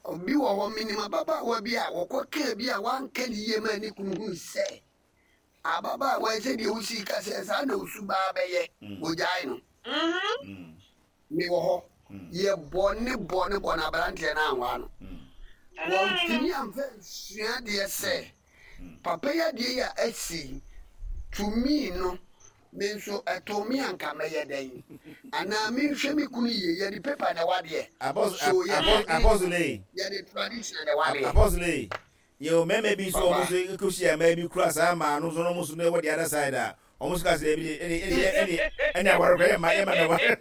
Obi wɔ hɔ, menim ababaawa bi a wɔkɔ kaa bi a wanka ne yie ma ne kunu hui sɛ ababaawa yi sɛdeɛ wosii ka sɛ saa na osu baa bɛyɛ, wɔgyae no. Mewɔ hɔ, yɛbɔ ne bɔ ne bɔ na aberanteɛ no anwaa no. Wɔntumi amfa nsua adeɛ sɛ papa yi adeɛ yi a asi yi, to me no, Me nso, ɛtoo me a anka mɛyɛ dɛn? Anaa menhwɛ me kunu yie? Yɛde paper na ɛwɔ adeɛ. So yɛde Apostle ei. Yɛde tradition na ɛwɔ adeɛ. Apostle ei. Yɛwɔ mmarima bi nso a wɔn nso kɔhyia mmaa bi kura saa mmaa no nso na wɔn nso na ɛwɔ the other side a wɔn nso ka sɛ ɛbi de ɛne ɛne ɛne ɛne aware kora yɛmma yɛmma mɛware.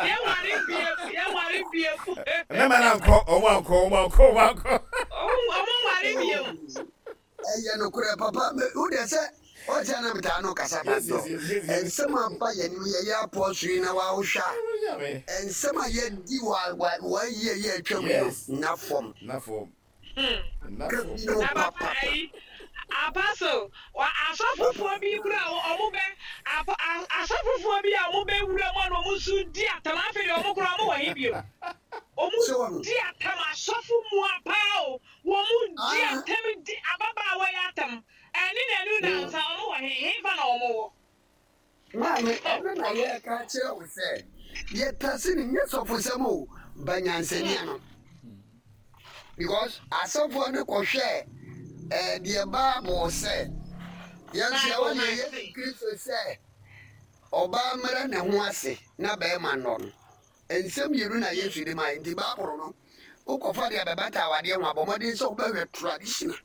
Yɛnware bio, yɛnware bio. Mmarima no ankɔ, wɔn ankɔ, wɔn ankɔ, wɔn ankɔ. Wɔn nware bio. Ɛyɛ nokorɛ papa me wo deɛ sɛ ɔkyɛ na metaa no kasa ba dɔ nsɛm a ba yɛn anim yɛyɛ apɔso yi na wawohwɛ a nsɛm a yɛdi wa wa wɔayi a yɛ atwam no na fam na fam ka bi no papa Apostle, asɔfofoɔ bi kura ɔmo bɛ asɔfofoɔ bi a ɔmo bɛ wura mu a na ɔmo nso di atam afei deɛ ɔmo kura ɔmo wɔ he bio ɔmo di atam asɔfo mu apaa o. Wɔn di atɛm di ababaawa yi atɛm. Ɛne nanu nansa wɔn wɔ he? Hefa na wɔn wɔ? Maame, ɛno na yɛreka akyerɛ wo sɛ yɛtase no nyɛ sɔfosɛm o, ba nyansani ano. Because asɔfoɔ no kɔhwɛɛ eh, deɛ Bible sɛ yɛn nso yɛwɔ deɛ Yesu Kristo sɛ ɔbaa mmrɛ ne ho ase na bɛrima nnɔ no. Nsɛm mmienu na Yesu de mae, nti Bible no wokɔfa de abɛbata awadeɛ ho a, bɔ mmɔden sɛ wobɛhwɛ traditional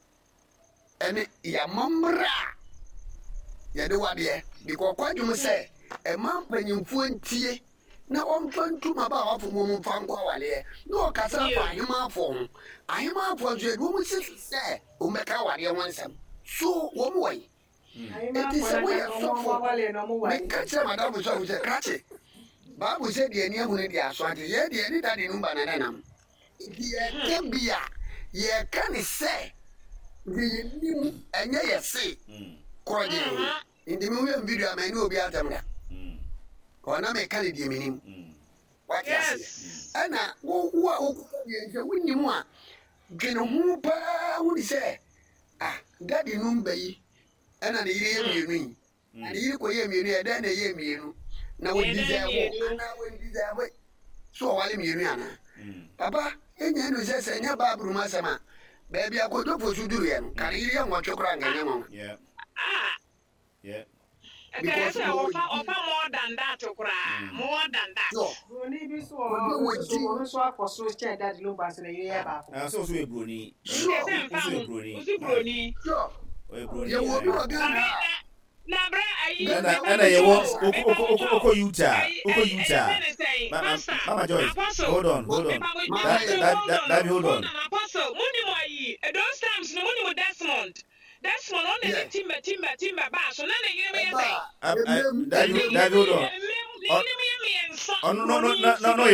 ɛne yɛamammerɛ a yɛde wadeɛ because kwadwom sɛ ɛma mpanyimfoɔ ntie na wɔmfa ntu mmabaawafoɔ mu wɔn mfa nkɔ awadeɛ na ɔkasa afa ahemaafoɔ ho ahemaafoɔ nso yɛde wɔn si so sɛ wɔmmɛka awadeɛ ho nsɛm so wɔn wɔ yi Enti sɛ woyɛ sɔfo, meka kyerɛ m'adamfo sɔfo sɛ, Krakye, Bible sɛ deɛ ani ahunu deɛ aso ate, yɛn deɛ yɛne dade no ba na na nam. Enti yɛka bi a, yɛka ne sɛ deɛ yɛnim, ɛnyɛ yɛse korɔgyee. Enti me woyɛ me video a, manni obi atɛm da. Kɔ na meka ne deɛ menim. Wate aseɛ? Ɛna wo wo a wokuta deɛ sɛ wonim a, dwene ho paa hu ne sɛ Ah, daddy nom ba yi ɛna ne yere yɛ mmienu yi. Na ne yere kɔyɛ mmienu yɛ dɛn na ɛyɛ mmienu? Na wɔ deserve anaa wɔ deserve so ɔwale mmienu anaa? Papa, yɛnya nu sɛ sɛ ɛnyɛ Bible mu asɛm a, baabi a Kojo Fosu duruiɛ no, ka ne yere yɛ nwɔtwe koraa anka ɛnyɛ nwanwa. Yeah. Because sɛ ɔfa ɔfa more than that koraa mm. more than that. Sure. Broni bi so wɔ hɔ ɔno nso ɔno nso akɔ so kyɛn Daddy Lumba nso ne yere yɛ baako. Ah, so so yɛ broni. Sure. Sɛ nfa ho, osi broni. Sure. Ɔyɛ broni. Yɛ wɔ obi wɔ Ghana. Na bra ayi. Ɛna ɛna yɛ wɔ okɔ okɔ okɔ Utah okɔ Utah. Mama Joyce, hold on, hold on. That that that that hold on. Apostle, mo ni mo ayi. Those times no mo ni mo Desmond. Desmond ɔna ne timba timba timba baa so na ne yere bɛyɛ sɛn? Dabi dabi hold on. Ne yere mu yɛ mmiɛnsa. Ɔno no no no no no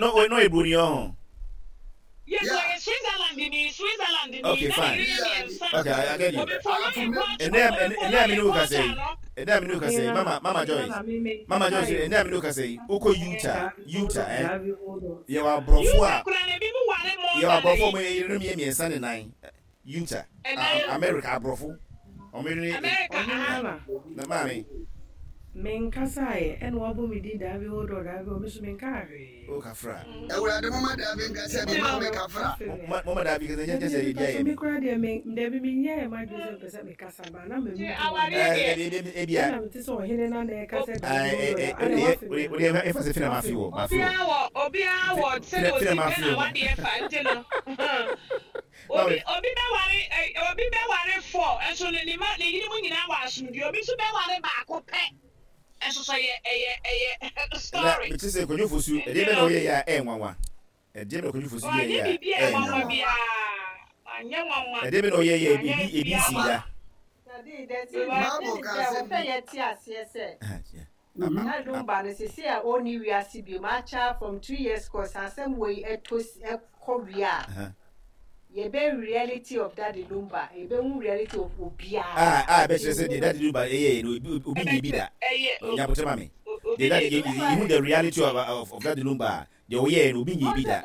no no yɛ broni ɔho. Yes, ɔyɛ Switzerland ni Switzerland ni Okay na ne fine. yere yɛ mmiɛnsa. Okay I, I get you. Obi follow yɛ culture Ɛnɛ obi ɛnɛ follow a mi yɛ ne wo kasa culture yi. no. Ɛnɛ a mi ne wo kasa yi. Mama Mama Joyce. Mama Joyce ɛnɛ a mi ne wo kasa yi. Wokɔ Utah Utah eh. Yɛwɔ aborɔfo Utah a koraa na ebi mu ware more yɛwɔ than aborɔfo a ayi. wɔn yerenom yɛ mmiɛnsa ne nan. Utah, Ɛnan. America aborɔfo, wɔn yere ne. America Ɔhene aha. Nana. Na maame. Menkasaeɛ ɛna wabɔ me din daabi hold on daabi hold on me nso menkaa hwee. Oh kafra. Awurade momma daabi nka sɛ me maame kafra. Momma daabi nka sɛ nyɛ sɛ Dabi ebi ayɛ me me. koraa deɛ me dabi menyɛɛ m'adwene sɛ mepɛ sɛ mekasa ba na Nti m'ani awareɛ deɛ. Dabi ebi a. Ɛna mete sɛ ɔhene na na ɛka sɛ daabi hold on adɛn wafe me Wode ɛfa sɛ fina mafe wɔ mafe wɔ. Obiara wɔ obiara wɔ sɛdeɛ Fina osi pɛ mafe wɔ. n'awadeɛ fa nti no. Obi obi bɛware ɛ obi bɛware four nso no ne ma ne yere mu nyinaa wɔ asomdwie obi nso bɛware baako pɛ nso so ɛyɛ ɛyɛ ɛyɛ Na story mete sɛ Kwadwo Fosu, ɛdeɛ nti bɛn na no. woyɛeɛ a ɛyɛ nwanwa? Ɛdeɛ bɛn na Kwadwo Fosu Wanyɛ yɛeɛ a biribi a ɛyɛ ɛyɛ nwanwa nwanwa? biara. Wanyɛ nwanwa. Ɛdeɛ bɛn na ɔyɛeɛ a Wanyɛ ebi ebi biribiara nsii nwanwa. da? Daddy, the thing, the Bible thing is ka sɛ asɛm wɔsɛ bi. yɛte aseɛ sɛ na Lumba no sese a ɔnni wiase biom akyɛ from 2 years kɔ sɛ asɛm wei ɛtɔ ɛkɔ wie a, yɛbɛ reality of Daddy Lumba, yɛbɛhu reality of obiara. A ɛbɛkyerɛ sɛ deɛ Daddy Lumba ɛyɛɛ no, obi nyɛ bi da. Ɛyɛ Nyabotrɛ ma me. obi Deɛ Daddy nyɛ bi. yɛhu the reality of Daddy Lumba a, deɛ ɔyɛɛ no, obi nyɛ bi da.